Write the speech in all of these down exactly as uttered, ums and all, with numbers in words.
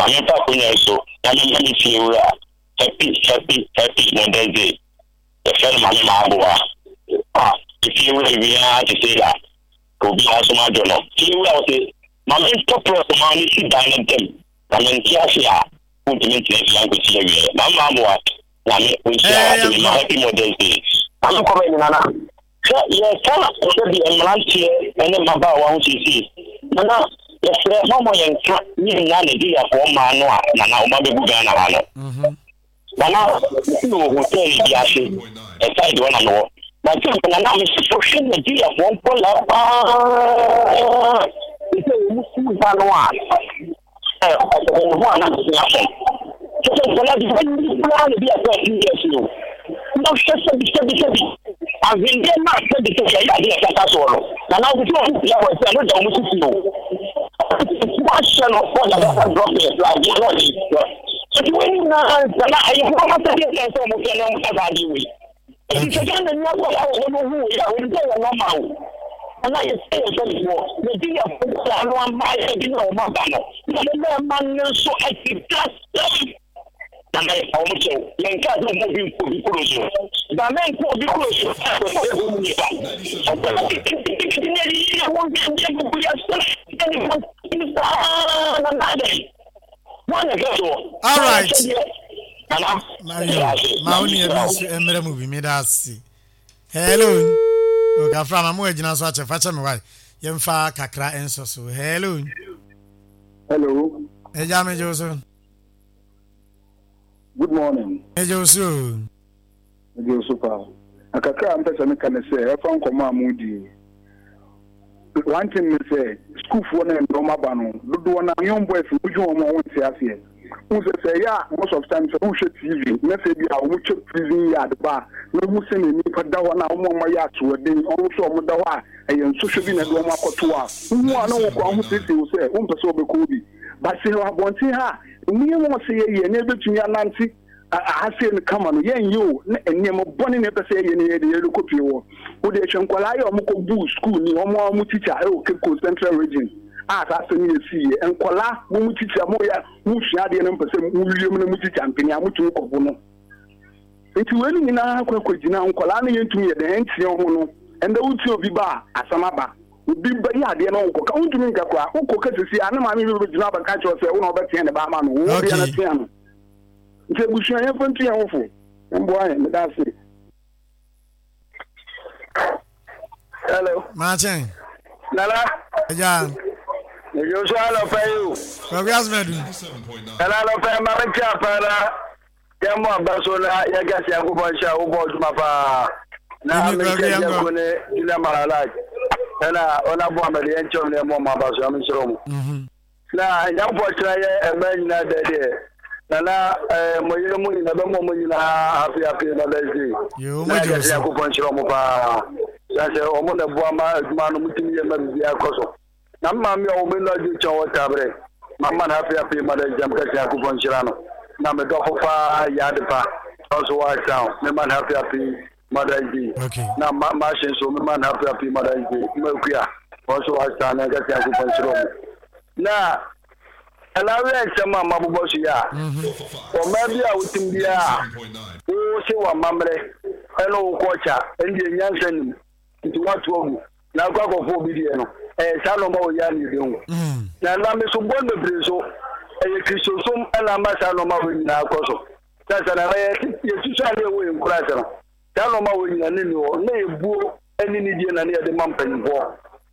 Ma memfa akonnwa yi so na memma me fie wura happy happy happy Mother's Day. Yɛfrɛ no Maame Maaboa. Ah, efie wura wie ara te sɛ da. Obiara nso madwo no. Fie wura wo se, ma mentɔ prɔt ma ne si dan no ntam. Na mente ase a, wontumi ntena fie ankɔsi awieɛ. Maame Maaboa, Nyame ɔnhyira wo ate me ma happy Mother's Day. Maame kɔmɛ nyina na sɛ yɛka sɛbi mmeranteɛ ne mmabaawa ho seesei nana yɛsrɛ mɔmɔ yɛnka ne nyinaa Nigeriafoɔ mmaa no a nana ɔma bɛgu Ghana ha no mhm. Nana mesi wɔ hotel bi ase ɛside hɔ na mewɔ na sɛ nana mesofo hwɛ Nigeriafoɔ nkɔlaa paa sɛ wɔn sukuu ha no a ɔsɛ ne ho a na mesua fam kyɛ sɛ nkɔlaa bi bɛyi koraa na bi akɔ two years o na hwɛ sɛbi sɛbi sɛbi ahwendeɛ no a sɛbi sɛbi ɛyɛ adeɛ ɛkata soɔ no na na wosɛ ɔmo pia wɔ sɛ ɛno da ɔmo sisi o wahyɛ no ɔda bɛfa drɔpɛ adeɛ na ɔde ɛti wɔn nyinaa nsa na ɛyɛ hɔ ɔmo sɛ deɛ sɛ ɔmo fɛ na ɔmo sa saa adeɛ wei ɛti sɛ Ghana ni akɔla wɔ hɔ no hu wei a wɔn sɛ yɛ nɔɔma o na yɛ sɛ yɛ sɛ wɔ Nigeria fo ano ama yɛ bi na wɔn aba no na wɔn mmarima no nso ɛti kasɛm na na yɛ wɔn kyɛw yɛn nka sɛ wɔn obi nkɔ obi kuro so na mɛ nkɔ obi kuro so ɛsɛ sɛ ɛwɔ mu nipa ɔbɛn kitikiti ne yɛ yɛ wɔn bi yɛ gugu yɛ sɛ ɛne wɔn ti saa na na dɛ wɔn na ɛhwɛ soɔ. All right. Nana. Mayo, ma wo nua bi nso mmerɛ mu bi meda ase. Hello. Okafra ma mo agyina so akyɛ fa kyɛ me wae. Yɛmfa kakra nso so. Hello. Hello. Ɛgya megye wo so. Good morning. Megye wo so. Megye wo so paa. Na kakra a mpɛ sɛ meka ne sɛ ɛfa nkɔmmɔ a modi. One thing ne sɛ sukuufoɔ no ɛndɛ ɔmo aba no dodoɔ no young boys wodwe wɔn a wɔnte aseɛ. Wohu sɛ sɛ ɛyɛ a most of time sɛ wohwɛ T V na sɛ bi a wɔn kyɛ prison yard ba a na wohu sɛ na nipa da hɔ na wɔn a wɔayɛ asoɔden wɔn nso a wɔn da hɔ a ɛyɛ nsɔhwɛ bi na ɛde wɔn akɔto a wohu a na wɔn kɔ ahosiesie wo sɛ wompɛ sɛ wɔbɛkɔ bi ba sɛ wɔ abɔnten ha nneɛma a ɔsɛ yɛyɛ na ebɛtumi anante ahase no kama no yɛnyɛ o na nneɛma bɔne na ɛpɛ sɛ yɛyɛ no yɛde yɛde kɔ pie wɔ wode hwɛ nkwadaa yɛ ɔmo kɔ buu school ni ɔmo a ɔmo teacher ɛwɔ Cape Coast Central Region a saa asɛm yɛ si yɛ nkwadaa mo mo teacher mo yɛ mo sua adeɛ no mpɛ sɛ mo wie mu na mo teacher mpanin a mo tumi kɔ bo no nti wei no nyinaa kɔ akɔgyina nkwadaa no yɛntumi yɛ dɛn ɛnteɛ ho no ɛnda wotie obi ba a asɛm aba obi bɛyɛ adeɛ no wokɔ ka wontumi nka koraa wokɔ ka sisi a ne maame bi bɛgyina abɛka kyerɛ sɛ wo na wobɛteɛ ne ba ama no wo bia no tea no nti abusua yɛmfa ntu yɛn ho fo mboa yɛn meda ase. Hello. Maakyɛn. Nana. Ɛgya. Ejo so anɔpɛ yi o. Kwaku Asmadu. Nana anɔpɛ yi maame tí a paa na yɛn mu aba so na yɛn kɛse yɛn kɔbɔ nhyɛ a wobɔ adwuma paa. Na Emi me Kwaku nkyɛn yɛn yɛ kɔ. ko ne Julia Malalaj. Ɛna ɔna bɔ amadi yɛn kyɛw ne yɛn mu ɔmo aba so yɛn nhyerɛ ɔmo. Mhm. Na nyankopɔn kyerɛ yɛ ɛmɛ nyinaa dɛ deɛ. Nana ɛɛ mo yere mu nyinaa bɛ mo ɔmo nyinaa happy happy Mother's Day. Yo, Na mo gye wo yɛkɛse so. Nyankopɔn nhyerɛ ɔmo paa. Sɛ sɛ ɔmo na boa ma adwuma no mo tumi yɛ ma biribiara kɔ so. Na me maame a ɔwɔ me adwo kyɛn wɔ tabrɛ. Mama no happy happy Mother's Day mkɛse Nyankopɔn nhyira no. Na me dɔfo paa yɛ ade pa. Ɔnso wɔ town. Me ma no happy happy Mother's Day. Okay. Na ma ma hyɛ nso me ma no happy happy Mother's Day. Ma akua. Ɔnso wɔ town na nkɛse Nyankopɔn nhyira ɔmo. Na ɛna awɛ nsɛm a mabobɔ so yi a ɔmaa bi a wotim biara a wo se w'amammerɛ ɛne wo kɔɔkya ɛndeɛ nyansa nim nti woato agu na akɔ akɔfo obi deɛ no ɛyɛ saa nɔɔma wɔ yɛ a ne yɛbɛhu Mm. na nam so bɔ bebree so ɛyɛ kristosom ɛna ama saa nɔɔma wɔ nyinaa kɔ so sɛ sɛ na yɛ yɛsusu adeɛ wɔ yɛn nkura ase no saa nɔɔma wɔ nyinaa ne ni hɔ na yɛbuo ɛne ne die na ne yɛde ma mpanyinfoɔ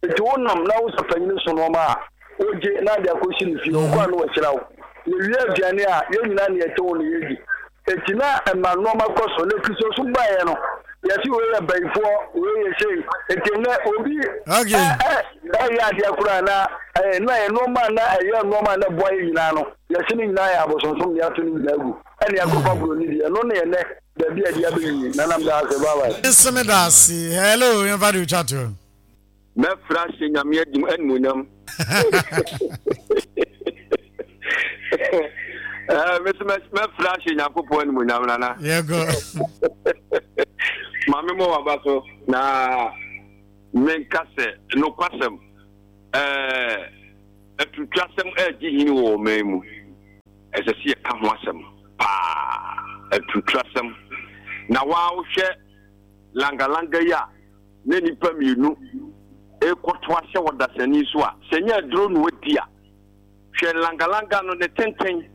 nti wonam na wosɛ panyin so nɔɔma a wogye na ade akɔsi ne fie ɔkɔ a na wɔahyira wo yɛwie aduane a yɛn nyinaa ne yɛte wo ne yɛdi eti na ɛma nneɛma kɔ so na kristosom baeɛ no yɛsi wei yɛ bayifoɔ wei yɛ sei eti nnɛ obi Okay. ɛ ɛ ɛyɛ adeɛ koraa na ɛyɛ na yɛ nneɛma na ɛyɛ nneɛma na ɛboa yɛ nyinaa no yɛsi ne nyinaa yɛ abosonsom ne ato ne nyinaa gu ɛne akɔfa buroni deɛ ɛno ne yɛ nɛ baabi a ɛde abɛnyi nanam da ase bye bye. Nso me da ase. Hello, yɛmfa de otwa to. Mɛfra hyɛ Nyame adim animuonyam. Eh, mese mɛfra hyɛ Nyankopɔn animuonyam nana. Yɛkɔ. Maame mɔ waba so na menka sɛ nokwasɛm ɛɛ atutwasɛm ɛregye hini wɔ ɔman mu. Ɛsɛ sɛ yɛka ho asɛm paa, aturuturasɛm. Na waa wohwɛ langalanga yi a na nnipa mmienu rekɔto ahyɛ wɔ dasani so a, sɛ nyɛ aduro na wadi a, hwɛ langalanga no ne tenten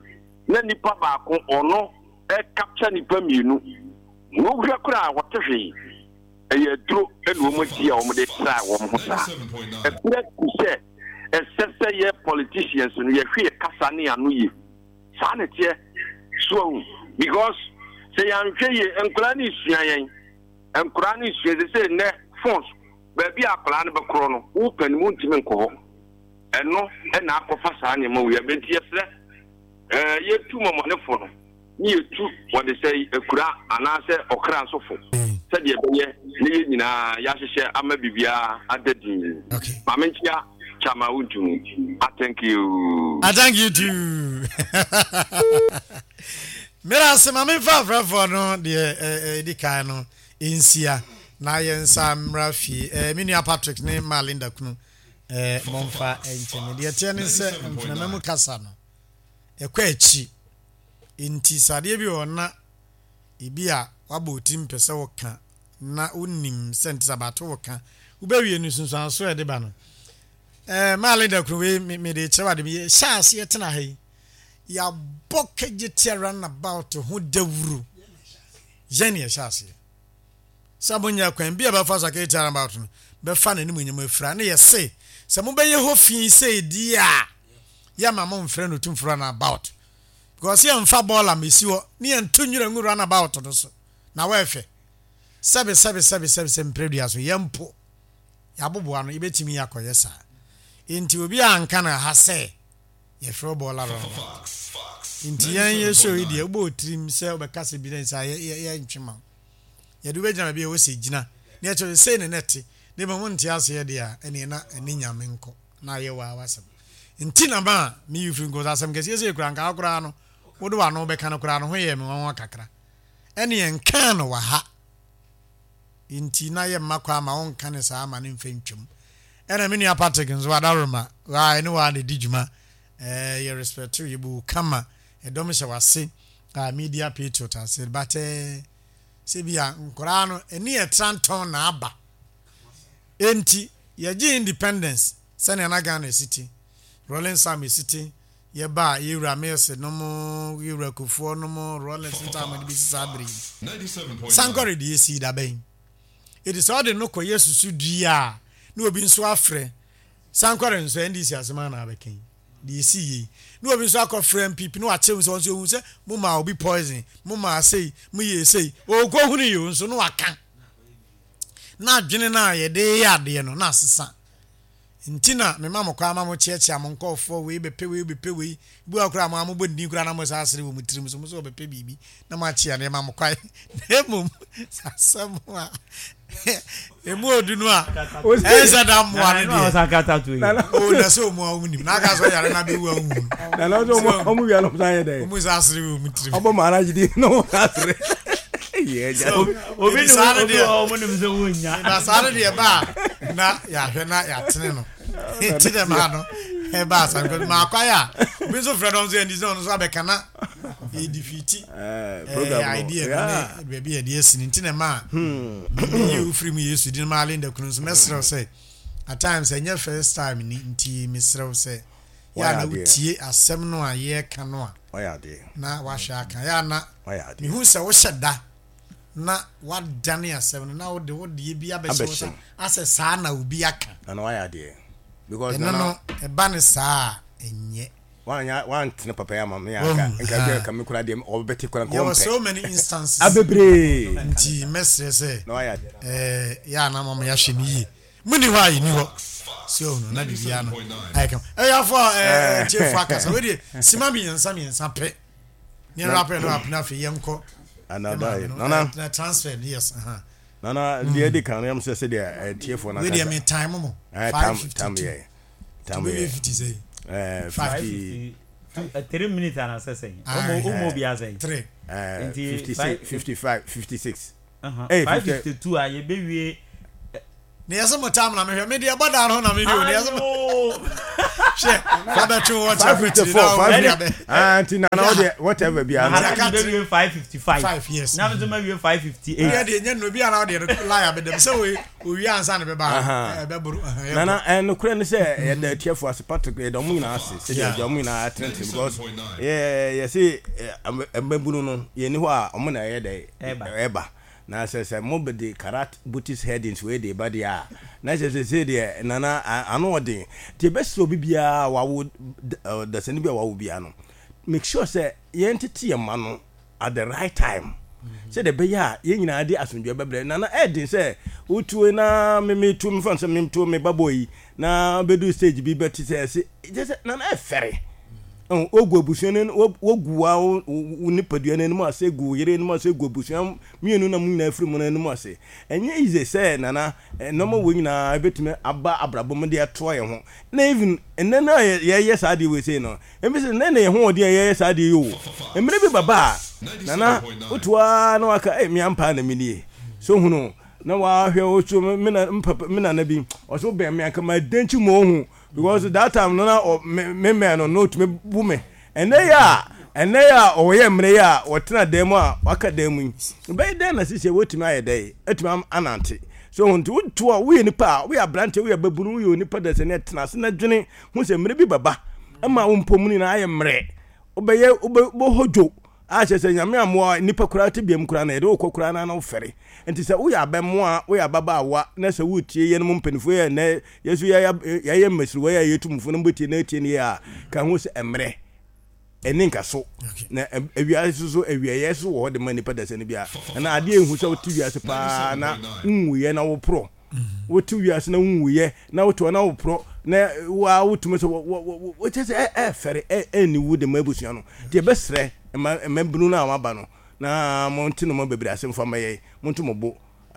na nipa baako ɔno ɛkapkya nipa mmienu. Na wohwɛ koraa a wɔte hwee. Ɛyɛ aduro na wɔn adi a wɔn de sraa wɔn ho saa. Ɛberɛ ku sɛ ɛsɛ sɛ yɛ politicians no yɛhwɛ yɛ kasa ne ano yie. Saa na ɛteɛ. So ahu? Because sɛ yɛanhwɛ yie, nkwadaa no resua yɛn. Nkwadaa no resua sɛ sɛ nnɛ phones, baabi a akwadaa no bɛkorɔ no, wo panin wontumi nkɔ hɔ. Ɛno na akɔfa saa nneɛma wei aba. Nti yɛsrɛ, ɛɛ, yɛtu mɔmɔnefo no ne yɛtu wɔde sɛ akura anaasɛ ɔkra nso fo sɛdeɛ ɛbɛyɛ ne yɛn nyinaa yɛahyehyɛ ama biribiara ada din. Okay. Maame nkyia Chama Wontumi. I thank you. I thank you too. Mera ase ma memfa afrɛfoɔ no deɛ ɛdi kan no nsia na yɛn nsa mmra fie. Eh, me nua Patrick ne ma Linda kunu eh, momfa nkyɛ me. Deɛ ɛteɛ ne sɛ mfenama mu kasa no ɛkɔ akyi. Nti sɛ adeɛ bi wɔ hɔ na ebi a wabɔ wo tirim pɛ sɛ woka na wonim sɛ nti sɛ abato woka wobɛwie no nsunsuanso a ɛde ba no eh, maa Linda kunu wei mede kyerɛ wade me yɛhyɛ aseɛ tena ha yi yɛabɔ kagye roundabout ho dawuro yɛn ne yɛhyɛ aseɛ sɛ monyɛ kwan bi a bɛfa so akagye roundabout no bɛfa n'anim nyam afira ne yɛse sɛ mobɛyɛ hɔ fi sɛ di a yɛma momfrɛ no tumfo roundabout because yɛmfa bɔɔla mɛsi hɔ ne yɛnto nwura ngu roundabout no so na wɔɛhwɛ sɛbe sɛbe sɛbe sɛbe sɛ mprɛdua so yɛmpo yɛaboboa no yɛbɛtumi akɔyɛ saa nti obi a anka no ha sɛ yɛfrɛ bɔɔla roundabout nti yɛn yɛ show yi deɛ wobɔ tirim sɛ wobɛka sɛ bi na sɛ yɛntwe ma wo yɛde wobɛgyina baabi a ɛwɔ sɛ gyina ne yɛkyerɛ sei ne ne te ne ma wonte aseɛ deɛ a ɛneɛ na ɛne nyame nkɔ na ayɛ wɔ awasɛm nti na ma a meyi firi nkɔ sɛ asɛm kɛseɛ sɛ kura nka koraa no wode w'ano bɛka no koraa no ho yɛ me nwanwa kakra ɛne yɛnkaa no wɔ ha nti na yɛ mma kɔ ama wonka ne saa ama ne mfa ntwam ɛna me nua Patrick nso adaworoma waa ɛne waa na ɛdi dwuma ɛɛ yɛ respect yɛ bu kama ɛdɔm hyɛ wase a media patriot ase but ɛɛ sɛ bi a nkoraa no ɛni ɛtrantɔn na aba enti yɛgye independence sɛnea na Ghana esi ti Rawlings Sam esi ti yɛba yɛwura Mills nom yɛwura Kufuor nom Rawlings ntaama de bɛsi saa bere yi sankɔre deɛ esi dabɛn edi sɛ ɔde no kɔ yɛ susu dua a na obi nso afrɛ sankɔre nso N D C asɛm ana abɛka yi deɛ esi yie na obi nso akɔfrɛ N P P na wakyerɛ mu sɛ wɔn nso ehu sɛ mo ma obi poison mo ma sei mo yɛ sei okɔ hunu yi o nso na waka na adwene no a yɛde yɛ adeɛ no na asesa nti na mema mo kwan ma mo kyeakyea mo nkɔɔfoɔ wei bɛpɛ wei bɛpɛ wei bi wɔ koraa mo a mobɔ ndin koraa na mo sa asere wɔ mo tirim so mo sɛ wɔbɛpɛ biribi na mo akyea nneɛma mo kwan na mmom asɛm a emu odu no a ɛnsɛ da mmoa no deɛ o na sɛ ɔmu a ɔmu nim na aka sɛ ɔyare na bɛwu a wohu na na ɔsɛ ɔmu wia no ɔsan yɛ dɛ ɔmu sa asere wɔ mu tirim ɔbɔ maa n'agye na ɔmu asere yɛ gya obi Ebi saa no obi deɛ. wɔ ɔmo nim sɛ wonya na saa no deɛ ba a na yɛahwɛ na yɛatene no nti dɛ maa no ɛba asa because maa kwae a obi nso frɛ dɔm sɛ ɛndi sɛ ɔno nso abɛka na yɛdifiti ɛɛ program no idea no yeah. ne baabi a yɛde asi no nti na ma meyi wo firi mu Yesu din ma Linda kunu nso mɛserɛ wo sɛ at times ɛnyɛ first time ni nti meserɛ wo sɛ yɛ a na Wayɛ adeɛ. wotie asɛm no a yɛreka no a Wayɛ adeɛ na wahwɛ aka yɛ a na wayɛ adeɛ mehu sɛ wohyɛ da na wadane asɛm no na wode wodeɛ bi abɛhyɛ wo sa Abɛhyɛ. asɛ saa na obi aka nana wayɛ adeɛ because ɛno nana no ɛba ne saa a ɛnyɛ wanya wantene papa yi ama me Wahu, anka nka ha. bi ka me kura deɛ ɔbɛte kura nka yɛwɔ ɔmpɛ so many instances abebree nti mɛsrɛ sɛ na wayɛ adeɛ ɛɛ yɛ a na mama yɛahwɛ no yie muni hɔ a yɛni hɔ sɛ ɔno na biribiara no ayɛ kama ɛyɛafo a ɛɛ tiefo akasa wei deɛ sima mmiɛnsa mmiɛnsa pɛ ne yɛn rapɛ no apena afei yɛnkɔ anada yi nana na transfer no yes aha nana deɛ ɛdi kan no yam sɛ sɛdeɛ ɛtiefoɔ no wei deɛ me time mo ɛɛ five tam fifty tam two yɛ tam wei yɛ fifty sɛ ɛɛ Five. fifty Two- uh, three minutes and asɛ sɛn Aye. ɔmo ɔmo obi asɛn three ɛɛ Nti fifty five- six fifty five fifty six Uh-huh. Hey, five fifty- fifty two a yɛbɛwie Ne yɛsɛ mo tam na mehwɛ me deɛ bɔ da no na mehwɛ o ne yɛsɛ mo hwɛ fa bɛtwe wɔ five fifty four five fifty ah nti nana wo deɛ whatever bi ano. Maharaji bɛ wie five fifty five. Five yes. Na mi nso ma wie five fifty eight. Wia deɛ nyɛ no bi ana deɛ no lie abɛdɛm sɛ wo owia ansa na bɛba ɛbɛboro. Nana ɛnokorɛ ne sɛ yɛda atiafoɔ ase Patrick yɛda ɔmo nyinaa ase sɛdeɛ yɛda ɔmo nyinaa atenetene because yɛ yɛse mmabunu no yɛnni hɔ a ɔmo na ɛyɛ dɛ ɛba. Na sɛ sɛ mo de karat bootis headings wei de ba deɛ a, na kyerɛ sɛ sei deɛ Nana ano ɔden. Nti yɛbɛsrɛ obi biara a wawo dasani bi a wawo biara no, make sure sɛ yɛn tete yɛn mma no at the right time. Sɛdeɛ ɛbɛyɛ a yɛn nyinaa de asomdwoeɛ bɛbrɛ. Nana ɛyɛ den sɛ wotuo na me metu mefa no sɛ metuo me ba boy yi na bɛdu stage bi bɛte sɛ ɛse kyerɛ sɛ Nana ɛfɛre. Wogu abusua no wogu wa wo nipadua no anim ase gu wo yere anim ase gu abusua mmienu na mo nyinaa firi mu no anim ase. Ɛnyɛ easy sɛ Nana nneɛma wei nyinaa ebetumi aba abrabɔ mu de atoa yɛn ho. Na even nnɛ no a yɛyɛ saa adeɛ wei sei no, ebi sɛ nnɛ na yɛn ho ɔden a yɛyɛ saa adeɛ yi o. Mmerɛ bi bɛba a Nana woto ara na waka ei me ampa na menie. So hunu na wahwɛ wo so me na mpapa me nana bi ɔsɛ wobɛn me anka ma dɛnkyi mu ohu because that time no na me mɛn no na otumi bu me. Ɛnnɛ yi a, ɛnnɛ yi a ɔyɛ mmerɛ yi a ɔtena dan mu a waka dan mu yi, ɛbɛyɛ dɛn na sisi wɔtumi ayɛ dɛn atumi anante? So ho nti woto a woyɛ nipa a woyɛ aberanteɛ woyɛ babunu woyɛ onipa dasani tena ase na dwene ho sɛ mmerɛ bi bɛba ɛma wo mpɔmu nyinaa ayɛ mmerɛ wobɛyɛ wobɛhɔ dwo a kyerɛ sɛ Nyame ammoa nipa koraa te biam koraa na yɛde wokɔ koraa na na wofɛre nti sɛ woyɛ abɛmoa woyɛ ababaawa na sɛ wotie yɛnom mpanimfoɔ yɛ ɛnɛ yɛso yɛayɛ mmasiriwa yɛ a yɛtu mufo no mbɛtie na atie ne yɛ a ka ho sɛ mmerɛ ɛne nka so na awiase so so awiayɛ so wɔ hɔ de ma nipa dasani no bia ɛna adeɛ ehu sɛ wote wiase paa na nwuyɛ na woporɔ wote wiase na nwuyɛ na wote hɔ na woporɔ na waa wotumi sɛ wɔkyɛ sɛ ɛfɛre ɛni wu de ma abusua no nti ɛbɛsrɛ mmabunu no a wɔaba no na monte no ma bebree ase mfa mɛyɛ monto mo bo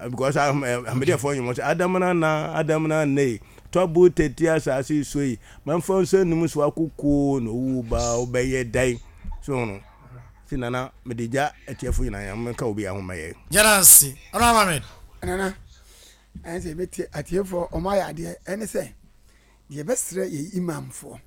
because ahomegyefoɔ nnwom sɛ adamena na adamena nne tɔbo tete asase so yi mamfa nsa num so akoko na owu ba wobɛyɛ dɛn so no si nana mede gya atiafo nyinaa yɛn menka obi ahoma yɛ gyana nsi ɔno amamed nana ɛne sɛ yɛbɛtie atiefoɔ ɔmo ayɛ adeɛ ɛne sɛ deɛ yɛbɛsrɛ yɛ imamfoɔ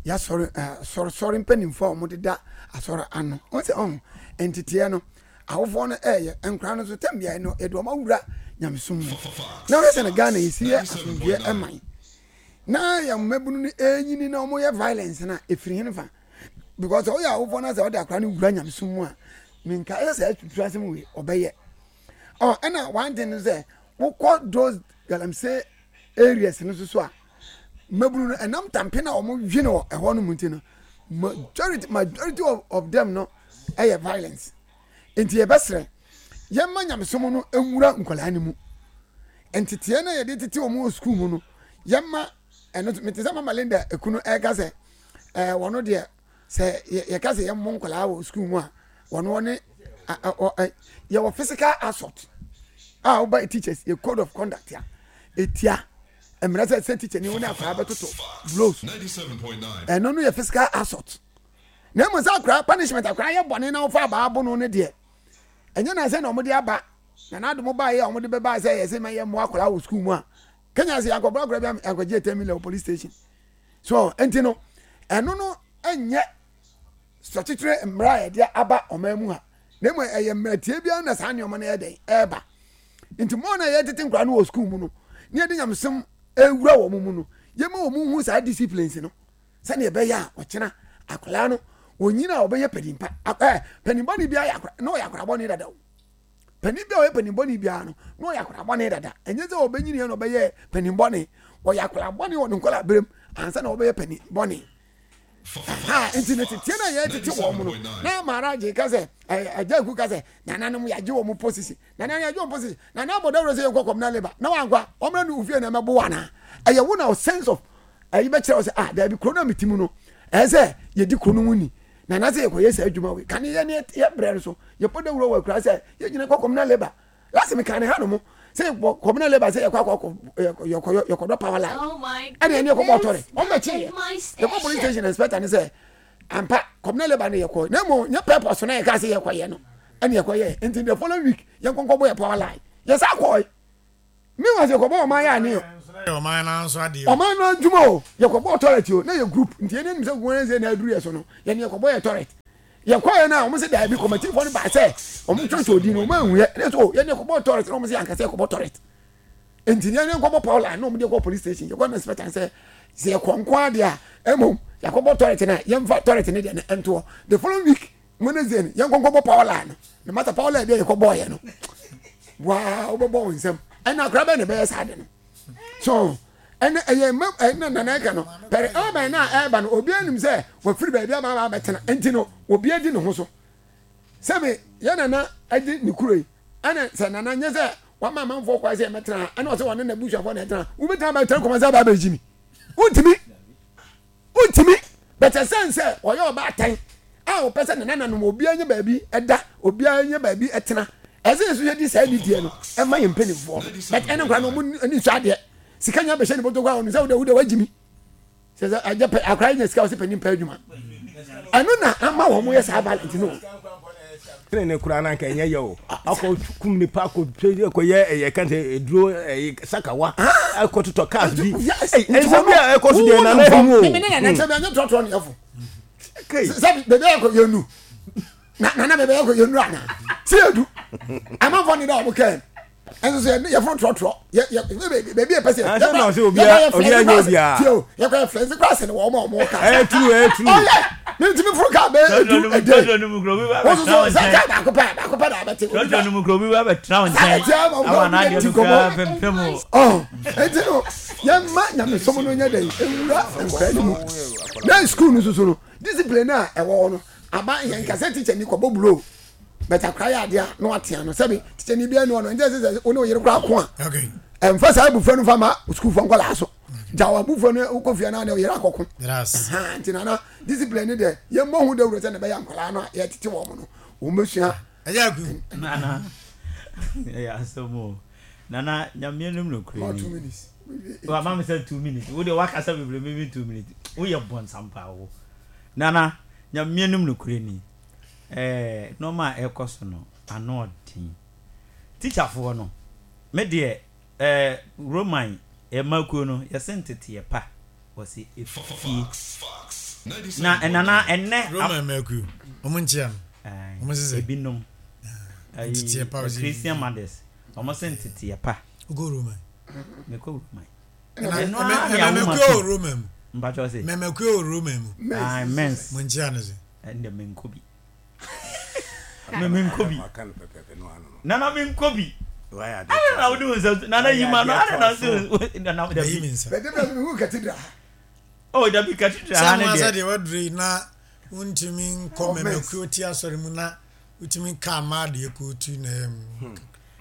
yɛasɔre asɔresɔre mpanimfoɔ a wɔdeda asɔre ano wɔn sɛ ɔho nteteɛ no awofoɔ no ɛɛyɛ nkora no nso tɛm biara no yɛde wɔn awura nyamesom mu na wɔyɛ sɛ no Ghana yɛsi yɛ asomdwoeɛ ɛman na yɛn mmabunu no ɛnyini na wɔyɛ violence na ɛfiri hene fa because ɔyɛ awofoɔ no sɛ ɔde akora no wura nyamesom mu a menka ɛsɛ sɛ atutu asɛm wei ɔbɛyɛ ɔ ɛna one thing no sɛ wokɔ those galamsey areas no so so a mmabunu no ɛnam tampe na wɔn dwene wɔ ɛhɔ no mu nti no majority majority of, of them no ɛyɛ violence nti yɛbɛsrɛ yɛma nyamesom no nwura nkwadaa no mu nteteɛ no yɛde tete wɔn wɔ sukuu mu no yɛma ɛno mete sɛ mama Linda ekunu ɛka sɛ ɛɛ wɔn deɛ sɛ yɛka sɛ yɛmmɔ nkwadaa wɔ sukuu mu a wɔn wɔne yɛwɔ physical assault a woba teachers yɛ code of conduct a etia mmerɛ sɛ sɛ teacher ni wo ne akwadaa bɛtoto blows ɛno no yɛ physical assault na mmom sɛ akwadaa punishment akwadaa yɛ bɔne na wofa abaa bo no ne deɛ ɛnyɛ na sɛ na wɔde aba na n'adom baeɛ a wɔde bɛba sɛ yɛsɛ ma yɛ mmoa akwadaa wɔ sukuu mu a Kenya sɛ yankɔbɔ akwadaa bi yankɔgye ten million wɔ police station so nti no ɛno no ɛnyɛ statutory mmara a yɛde aba ɔman mu ha na mmom ɛyɛ mmara tie biara na saa nneɛma no yɛ dɛn ɛreba nti mo na yɛtete nkwadaa no wɔ sukuu mu no ne yɛde nyamesɛm ewura wɔn mu no yɛma wɔn hu saa disciplines no sɛdeɛ ɛbɛyɛ a ɔkyena akwadaa no onyina a ɔbɛyɛ panimpa ɛɛ panimpa bi ayɛ akwadaa na ɔyɛ akwadaa bɔne dada o panin bi a ɔyɛ panin bɔne biara no na ɔyɛ akwadaa bɔne dada ɛnyɛ sɛ ɔbɛnyini yɛ na ɔbɛyɛ panin bɔne ɔyɛ akwadaa bɔne wɔ ne nkwadaa berem ansa na ɔbɛyɛ panin bɔne aha nti ne teteɛ no a yɛtete wɔn no na maharaj ka sɛ agya aku ka sɛ nananom yɛagye wɔn posisi nananom yɛagye wɔn posisi nana abɔ dawuro sɛ yɛnkɔ kɔmna leba na wankɔ a wɔmmra ne ofie na ɛmɛbo anaa ɛyɛ wo na sense of ɛyi bɛkyerɛ wo sɛ ah daabi kuro no a mete mu no ɛyɛ sɛ yɛdi kuro no mu ni na na sɛ yɛkɔyɛ saa adwuma wei kane yɛ ne yɛ brɛ no so yɛbɔ dawuro wɔ akura sɛ yɛgyina kɔ kɔmna leba last me kane ha no mo sɛ yɛkɔ kɔmna leba sɛ yɛkɔ akɔ yɛkɔ yɛkɔdɔ power line ɛne ɛne yɛkɔbɔ ɔtɔre wɔn bɛkye yɛ yɛkɔ police station inspector ne sɛ ampa kɔmna leba ne yɛkɔ na mmom nyɛ purpose na yɛka sɛ yɛkɔyɛ no ɛne yɛkɔyɛ nti the following week yɛnkɔnkɔbɔ yɛ power line yɛsa kɔe Meanwhile sɛ yɛkɔbɔ ɔman yɛ ane o. Ɔman no nso adeɛ. Ɔman no adwuma o. Yɛkɔbɔ toilet o na yɛ group nti yɛn anim sɛ Wednesday na aduru yɛ so no yɛn yɛkɔbɔ yɛ toilet. Yɛkɔɛ no a wɔn sɛ daabi kɔmatifoɔ no baa sɛ wɔn twɛntwɛn odin no wɔn ahu yɛ ɛna so yɛn yɛkɔbɔ toilet na wɔn sɛ yɛn ankasa yɛkɔbɔ toilet. Nti yɛn yɛnkɔbɔ power line na wɔn de kɔ police station yɛkɔ na inspector sɛ sɛ yɛkɔ nko adeɛ a ɛmom yɛkɔbɔ toilet na yɛmfa toilet ne deɛ no ɛntoɔ the following week Wednesday no yɛnkɔ nkɔbɔ power line no na mata power line bi a yɛkɔ bɔɔyɛ no waa wobɛbɔ wo nsam ɛna akora bɛn na ɛbɛyɛ saa de no so ɛna ɛyɛ mma ɛna nana ɛka no pɛrɛ ɛbɛn na ɛba no obi anim sɛ wafiri baabi aba aba abɛtena nti no obi adi ne ho so sɛbi yɛ nana ɛdi ne kuro yi ɛna sɛ nana nyɛ sɛ wama amanfoɔ kwan sɛ ɛmɛtena ha ɛna ɔsɛ wɔne n'abusuafoɔ na ɛtena wobɛtena abɛtena kɔma sɛ aba abɛgyi mi wontumi Wontumi, but ɛsiane sɛ ɔyɛ ɔbaatan a ɔpɛ sɛ ne nananom obiara nya baabi da, obiara nya baabi tena, ɛsɛ yɛn nso yɛdi saa nidie no ɛma yɛn mpanimfoɔ no. But ɛne nkora no ɔmo ani nsɔ adeɛ. Sika nya bɛhyɛ ne bɔtɔ koraa ɔno sɛ wode wode wagyi mi. Sɛ sɛ agya pɛ akora nya sika ɔsɛ panin pɛ adwuma. Ɛno na ama wɔn yɛ saa violent no. Tene ne koraa na nka ɛnyɛ yɛ o. Akɔ kum nipa akɔ akɔ yɛ ɛyɛ kan sɛ eduro ɛyɛ sakawa akɔ totɔ cars bi. Ɛnsɛm bi a ɛkɔ so deɛ nana ɛhu o. Mímí ne nana nsɛm bi ɛnyɛ trɔtrɔ ne ɛfo. Sɛbi beebi akɔ yɛ nu. Na nana beebi akɔ yɛ nu ana. Si yɛ du. Amanfoɔ ne da ɔmo kɛn. Ɛnso so yɛ yɛforo trɔtrɔ yɛ yɛ beebi yɛ pɛ sɛ yɛ kɔ yɛ kɔ yɛ fɛn si tie o yɛ kɔ yɛ fɛn si kura sɛni wɔn a wɔn ka. Ɛyɛ turu ɛyɛ turu. Ɔyɛ ne ntumi foro kaa bɛyɛ edu ɛdɛ wɔn soso sɛ kaa baako pɛ baako pɛ na abɛte. Trɔtrɔ no mu kuro bi ba bɛ tena wɔn nkyɛn ama n'adeɛ no kura pɛmpɛm o. Ɔ eti no yɛn mma nyamesom no nyɛ dɛ ewura nkura no mu na sukuu no soso no discipline a ɛwɔ hɔ no aba yɛn kasa teacher ni kɔ bɔ bulo. But akora yɛ adeɛ a na watea no sɛbi tikyɛni biara ni hɔ no nti ɛsɛ sɛ wo ne wo yere koraa ko a ɛmfa saa abufuo no fa ma sukuufoɔ nkɔlaa so gya wɔn abufuo no wokɔ fie no ne wo yere akɔko nti nana discipline ne deɛ yɛmmɔ ho dawuro sɛ ne bɛyɛ nkɔlaa no a yɛtete wɔn no wɔn bɛsua. Ɛyɛ aku. Nana ɛyɛ asɛm o nana nyame anim nokorɛ ni wama me sɛ two minutes wo deɛ wakasa bebree me two minutes woyɛ bɔnsam paa wo nana nyame anim nokorɛ ni. Ɛɛ nnoɔma a ɛrekɔ so no ano ɔden. Tikyafoɔ no, me deɛ ɛɛ Roman mma kuo no yɛse nteteɛ pa wɔse efie. Na nana ɛnɛ. Roman mma kuo, wɔn nkyea no, wɔn se sɛ. Ebinom. Nteteɛ pa wɔse. Christian mothers, wɔn se nteteɛ pa. Wokɔ Roman? Mekɔ Roman. Mmɛmɛkuo wɔ Roman mu. Mpakyɛw se. Mmɛmɛkuo wɔ Roman mu. Aye, mens. Mo nkyea no se. Ɛnde menkɔ bi. Me menkɔ bi. Nana menkɔ bi. Ada na wode wo nsa nana yi ma no ada na wode nana dabi. Bɛde bɛ mi hu cathedral. Oh dabi cathedral ha ne deɛ. Sɛ mo asɛ deɛ wadure yi na wontumi nkɔ mɛmɛkuo ti asɔre mu na wotumi ka ama adeɛ kootu na ɛyɛ mu.